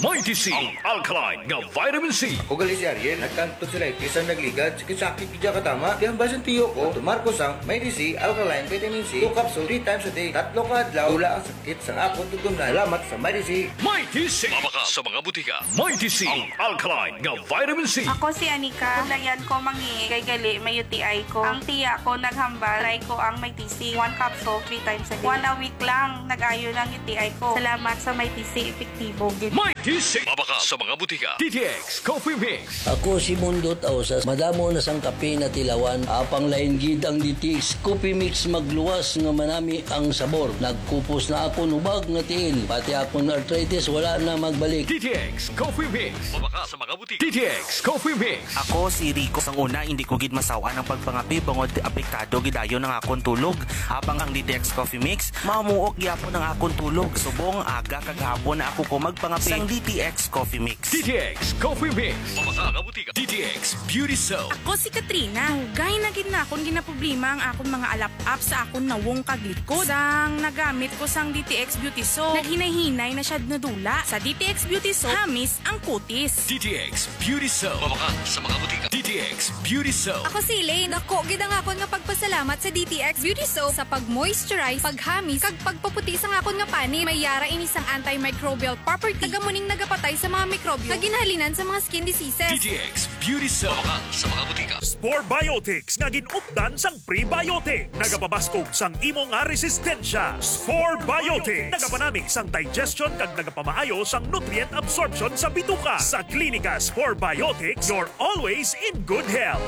Mighty C, ang alkaline nga vitamin C. Ako gali si Ariel, nagkantog sa lightis ang nagligad, sakit-sakit gid katama. Kaya ang basin tiyo ko, tumar ko sang Mighty C, alkaline vitamin C, two capsule, three times a day, tatlo ka adlaw, wala ang sakit sang akon tutumnan. Salamat sa Mighty C. Mighty C. Mabakal sa mga butika. Mighty C, ang alkaline nga vitamin C. Ako si Anika. Kung dayan ko mangi, kay gali may U T I ko. Ang tiya ko naghambal, try ko ang Mighty C. One capsule, three times a day. One a week lang, nag-ayo ng U T I ko. Salamat sa Mighty C, epektibo gid. Mighty C. Mabakal sa mga butika. D T X Coffee Mix. Ako si Mundot Ausas. Madamo na sang kape na tilawan. Apang lain gid ang D T X Coffee Mix, magluwas nga manami ang sabor. Nagkupos na akon hubag nga tiil. Pati akon arthritis wala na magbalik. D T X Coffee Mix. Mabakal sa mga butika. D T X Coffee Mix. Ako si Rico. Sang una, hindi ko gid masawan ang pagpangape bangod apektado gid ayo ang akon tulog. Apang ang D T X Coffee Mix, mamuok gyapon ang akon tulog. Subong aga kag hapon na ako ko magpangape. Sang D T X Coffee Mix. D T X Coffee Mix. Mabakal sa mga butika. D T X Beauty Soap. Ako si Katrina. Dugay na gid na akon ginaproblema ang akon mga alap-ap sa akon nawong kag likod. Sang nagamit ko sang D T X Beauty Soap, naghinay-hinay na siya nadula. Sa D T X Beauty Soap, hamis ang kutis. D T X Beauty Soap. Mabakal sa mga butika. D T X Beauty Soap. Ako si Elaine. Dako gid ang akon nga pagpasalamat sa D T X Beauty Soap sa pag-moisturize, paghamis, kag pagpaputi sang akon nga panit. May yara ini sang antimicrobial property. Taga mo ning nagapatay sa mga mikrobyo nga ginhalinan sa mga skin diseases. D T X Beauty Soap. Mabakal sa mga butika. Spore Biotics nga gin-updan sang prebiotic. Nagapabaskog sang imo nga resistensya. Spore Biotics. Nagapanami sang digestion kag nagapamaayo sang nutrient absorption sa bituka. Sa Klinika Spore Biotics, you're always in good health.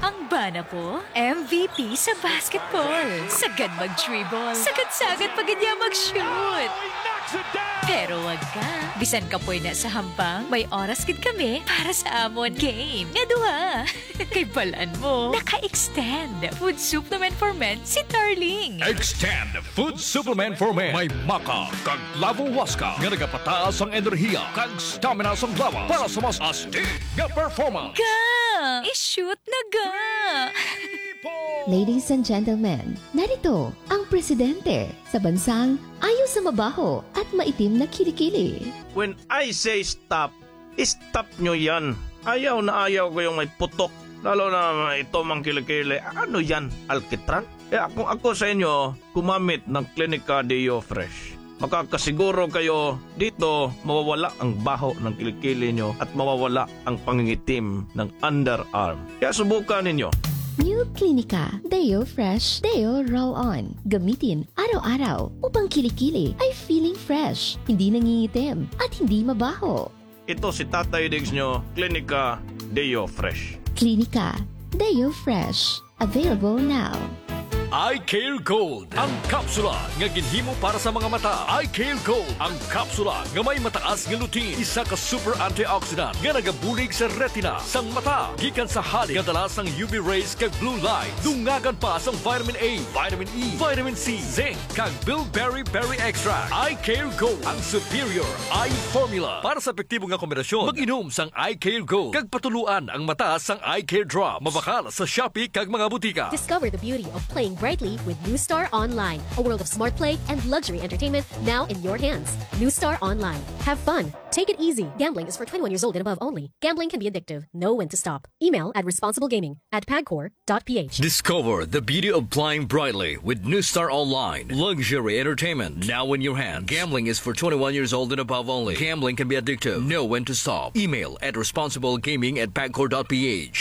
Ang bana ko, M V P sa basketball. Sagad mag-dribble. Sagad-sagad pa gid niya mag-shoot. Pero wag ka. Bisan kapoy na sa hampang, may oras gid kami para sa amon game nga duha. Kay balan mo, naka-extend Food Supplement for Men si Darling. Extend Food Supplement for Men. May maca kag clavo huasca nga nagapataas ang enerhiya kag stamina sang lawas para sa mas astig nga performance. Ga! I-shoot na ga! Ladies and gentlemen, narito ang presidente sa bansang ayaw sa mabaho at maitim na kilikili. When I say stop, stop nyo yan. Ayaw na ayaw ko yung may putok. Lalo na ito mang kilikili. Ano yan? Alkitran? Kaya kung ako sa inyo, gumamit ng Clinica Deo Fresh. Makakasiguro kayo dito mawawala ang baho ng kilikili nyo at mawawala ang pangingitim ng underarm. Kaya subukan ninyo. New Clinica Deo Fresh Deo Roll On. Gamitin araw-araw upang kilikili ay feeling fresh, hindi nangingitim, at hindi mabaho. Ito si Tatay Diggs nyo, Clinica Deo Fresh. Clinica Deo Fresh. Available now. Eye Care Gold, ang kapsula nga ginhimo para sa mga mata. Eye Care Gold, ang kapsula nga may mataas nga lutein, isa ka super antioxidant nga nagabulig sa retina sang mata gikan sa halin nga dala sang U V rays kag blue light. Dungagan pa sang vitamin A, vitamin E, vitamin C, zinc, kag bilberry berry extract. Eye Care Gold, ang superior eye formula. Para sa epektibo nga kombinasyon, mag-inom sang Eye Care Gold kag patuluan ang mata sang Eye Care Drops. Mabakal sa Shopee kag mga butika. Discover the beauty of playing brightly with New Star Online, a world of smart play and luxury entertainment now in your hands. New Star Online. Have fun. Take it easy. Gambling is for twenty-one years old and above only. Gambling can be addictive. Know when to stop. Email at responsiblegaming at pagcor dot p h. Discover the beauty of playing brightly with New Star Online. Luxury entertainment now in your hand. Gambling is for twenty-one years old and above only. Gambling can be addictive. Know when to stop. Email at responsiblegaming at pagcor dot p h.